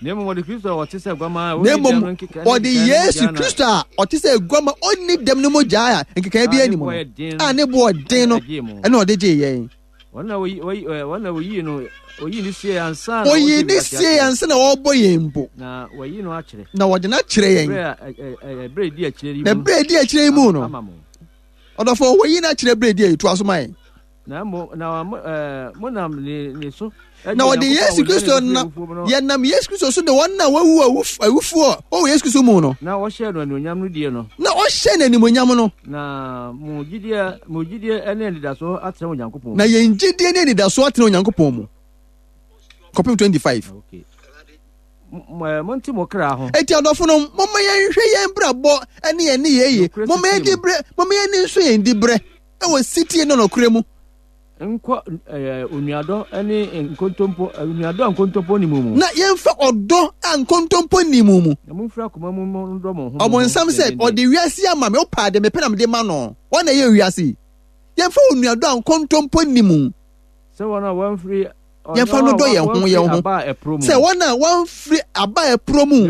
Na mmom ɔde Kristo a ɔte sɛ aguamaa a Na ɔnni mmom dɛm no nkekae ne ɔde nkekae no Yesu mogya na Kristo a ɔte sɛ aguama ɔnni dɛm no mogya a nkekae a biara ne nni mu bo no, yɛ den a no ne bo ɔden na no, ɛgyee mo. ɛna ɔde gyee yɛn. Wɔn na wɔyi wɔyi ɛ wɔn na wɔyii no wɔyii no siee ansa na Ɔyii wɔhyɛ ne wiase siee aseɛ. ansa na wɔrebɔ yɛn mpo. Na wɔayi no akyerɛ. Na wɔde no akyerɛ yɛn. Berɛ a ɛ ɛ ɛ berɛ a ɛdi akyire yi Na mu berɛ a ɛdi akyire yi mu no, ama mo. ɔdɔfo, wɔyi no akyerɛ berɛ a ɛdi ayi, toa so ma yɛn. Na mo na mo ɛɛ monam ne ne so. Na wɔde Yesu Kristo na yɛnam Yesu Kristo so de wɔn a wɔawu awufoɔ wɔ Yesu Kristo mu no. Na ɔhyɛɛ no animuonyam no die no. Na ɔhyɛɛ no animuonyam no. Na mo gyidie mo gyidie ne anidasoɔ atena Onyankopɔn mu. Na yɛn gyidie ne anidasoɔ atena Onyankopɔn mu. Kɔpem 25. Okay. Monte mo kra ho. Eti adɔfo no, momma yɛnhwɛ yɛn brabɔ ne yɛn nneyɛe yie. Momma yɛn dibrɛ, momma yɛn ani nso yɛn dibrɛ wɔ sitie ne nɔkorɛ mu. Nkɔ onuadɔ ne nkontompo, onuadɔ a nkontompo nni mu mu. Na yɛmfa ɔdɔ a nkontompo nni mu mu. Na momfiri akoma mu nnɔ mo ho. Ɔbonsam sɛ, ɔde wiase ama me, wopɛ ade, mepɛ na mede ma no. Wɔn na ɛyɛ wiase yi. Yɛmfa onuadɔ a nkontompo nni mu. Sɛ wɔn a wɔamfiri Yɛmfa no dɔ yɛn ho yɛn ho sɛ wɔn a wɔamfiri aba a ɛporɔ mu.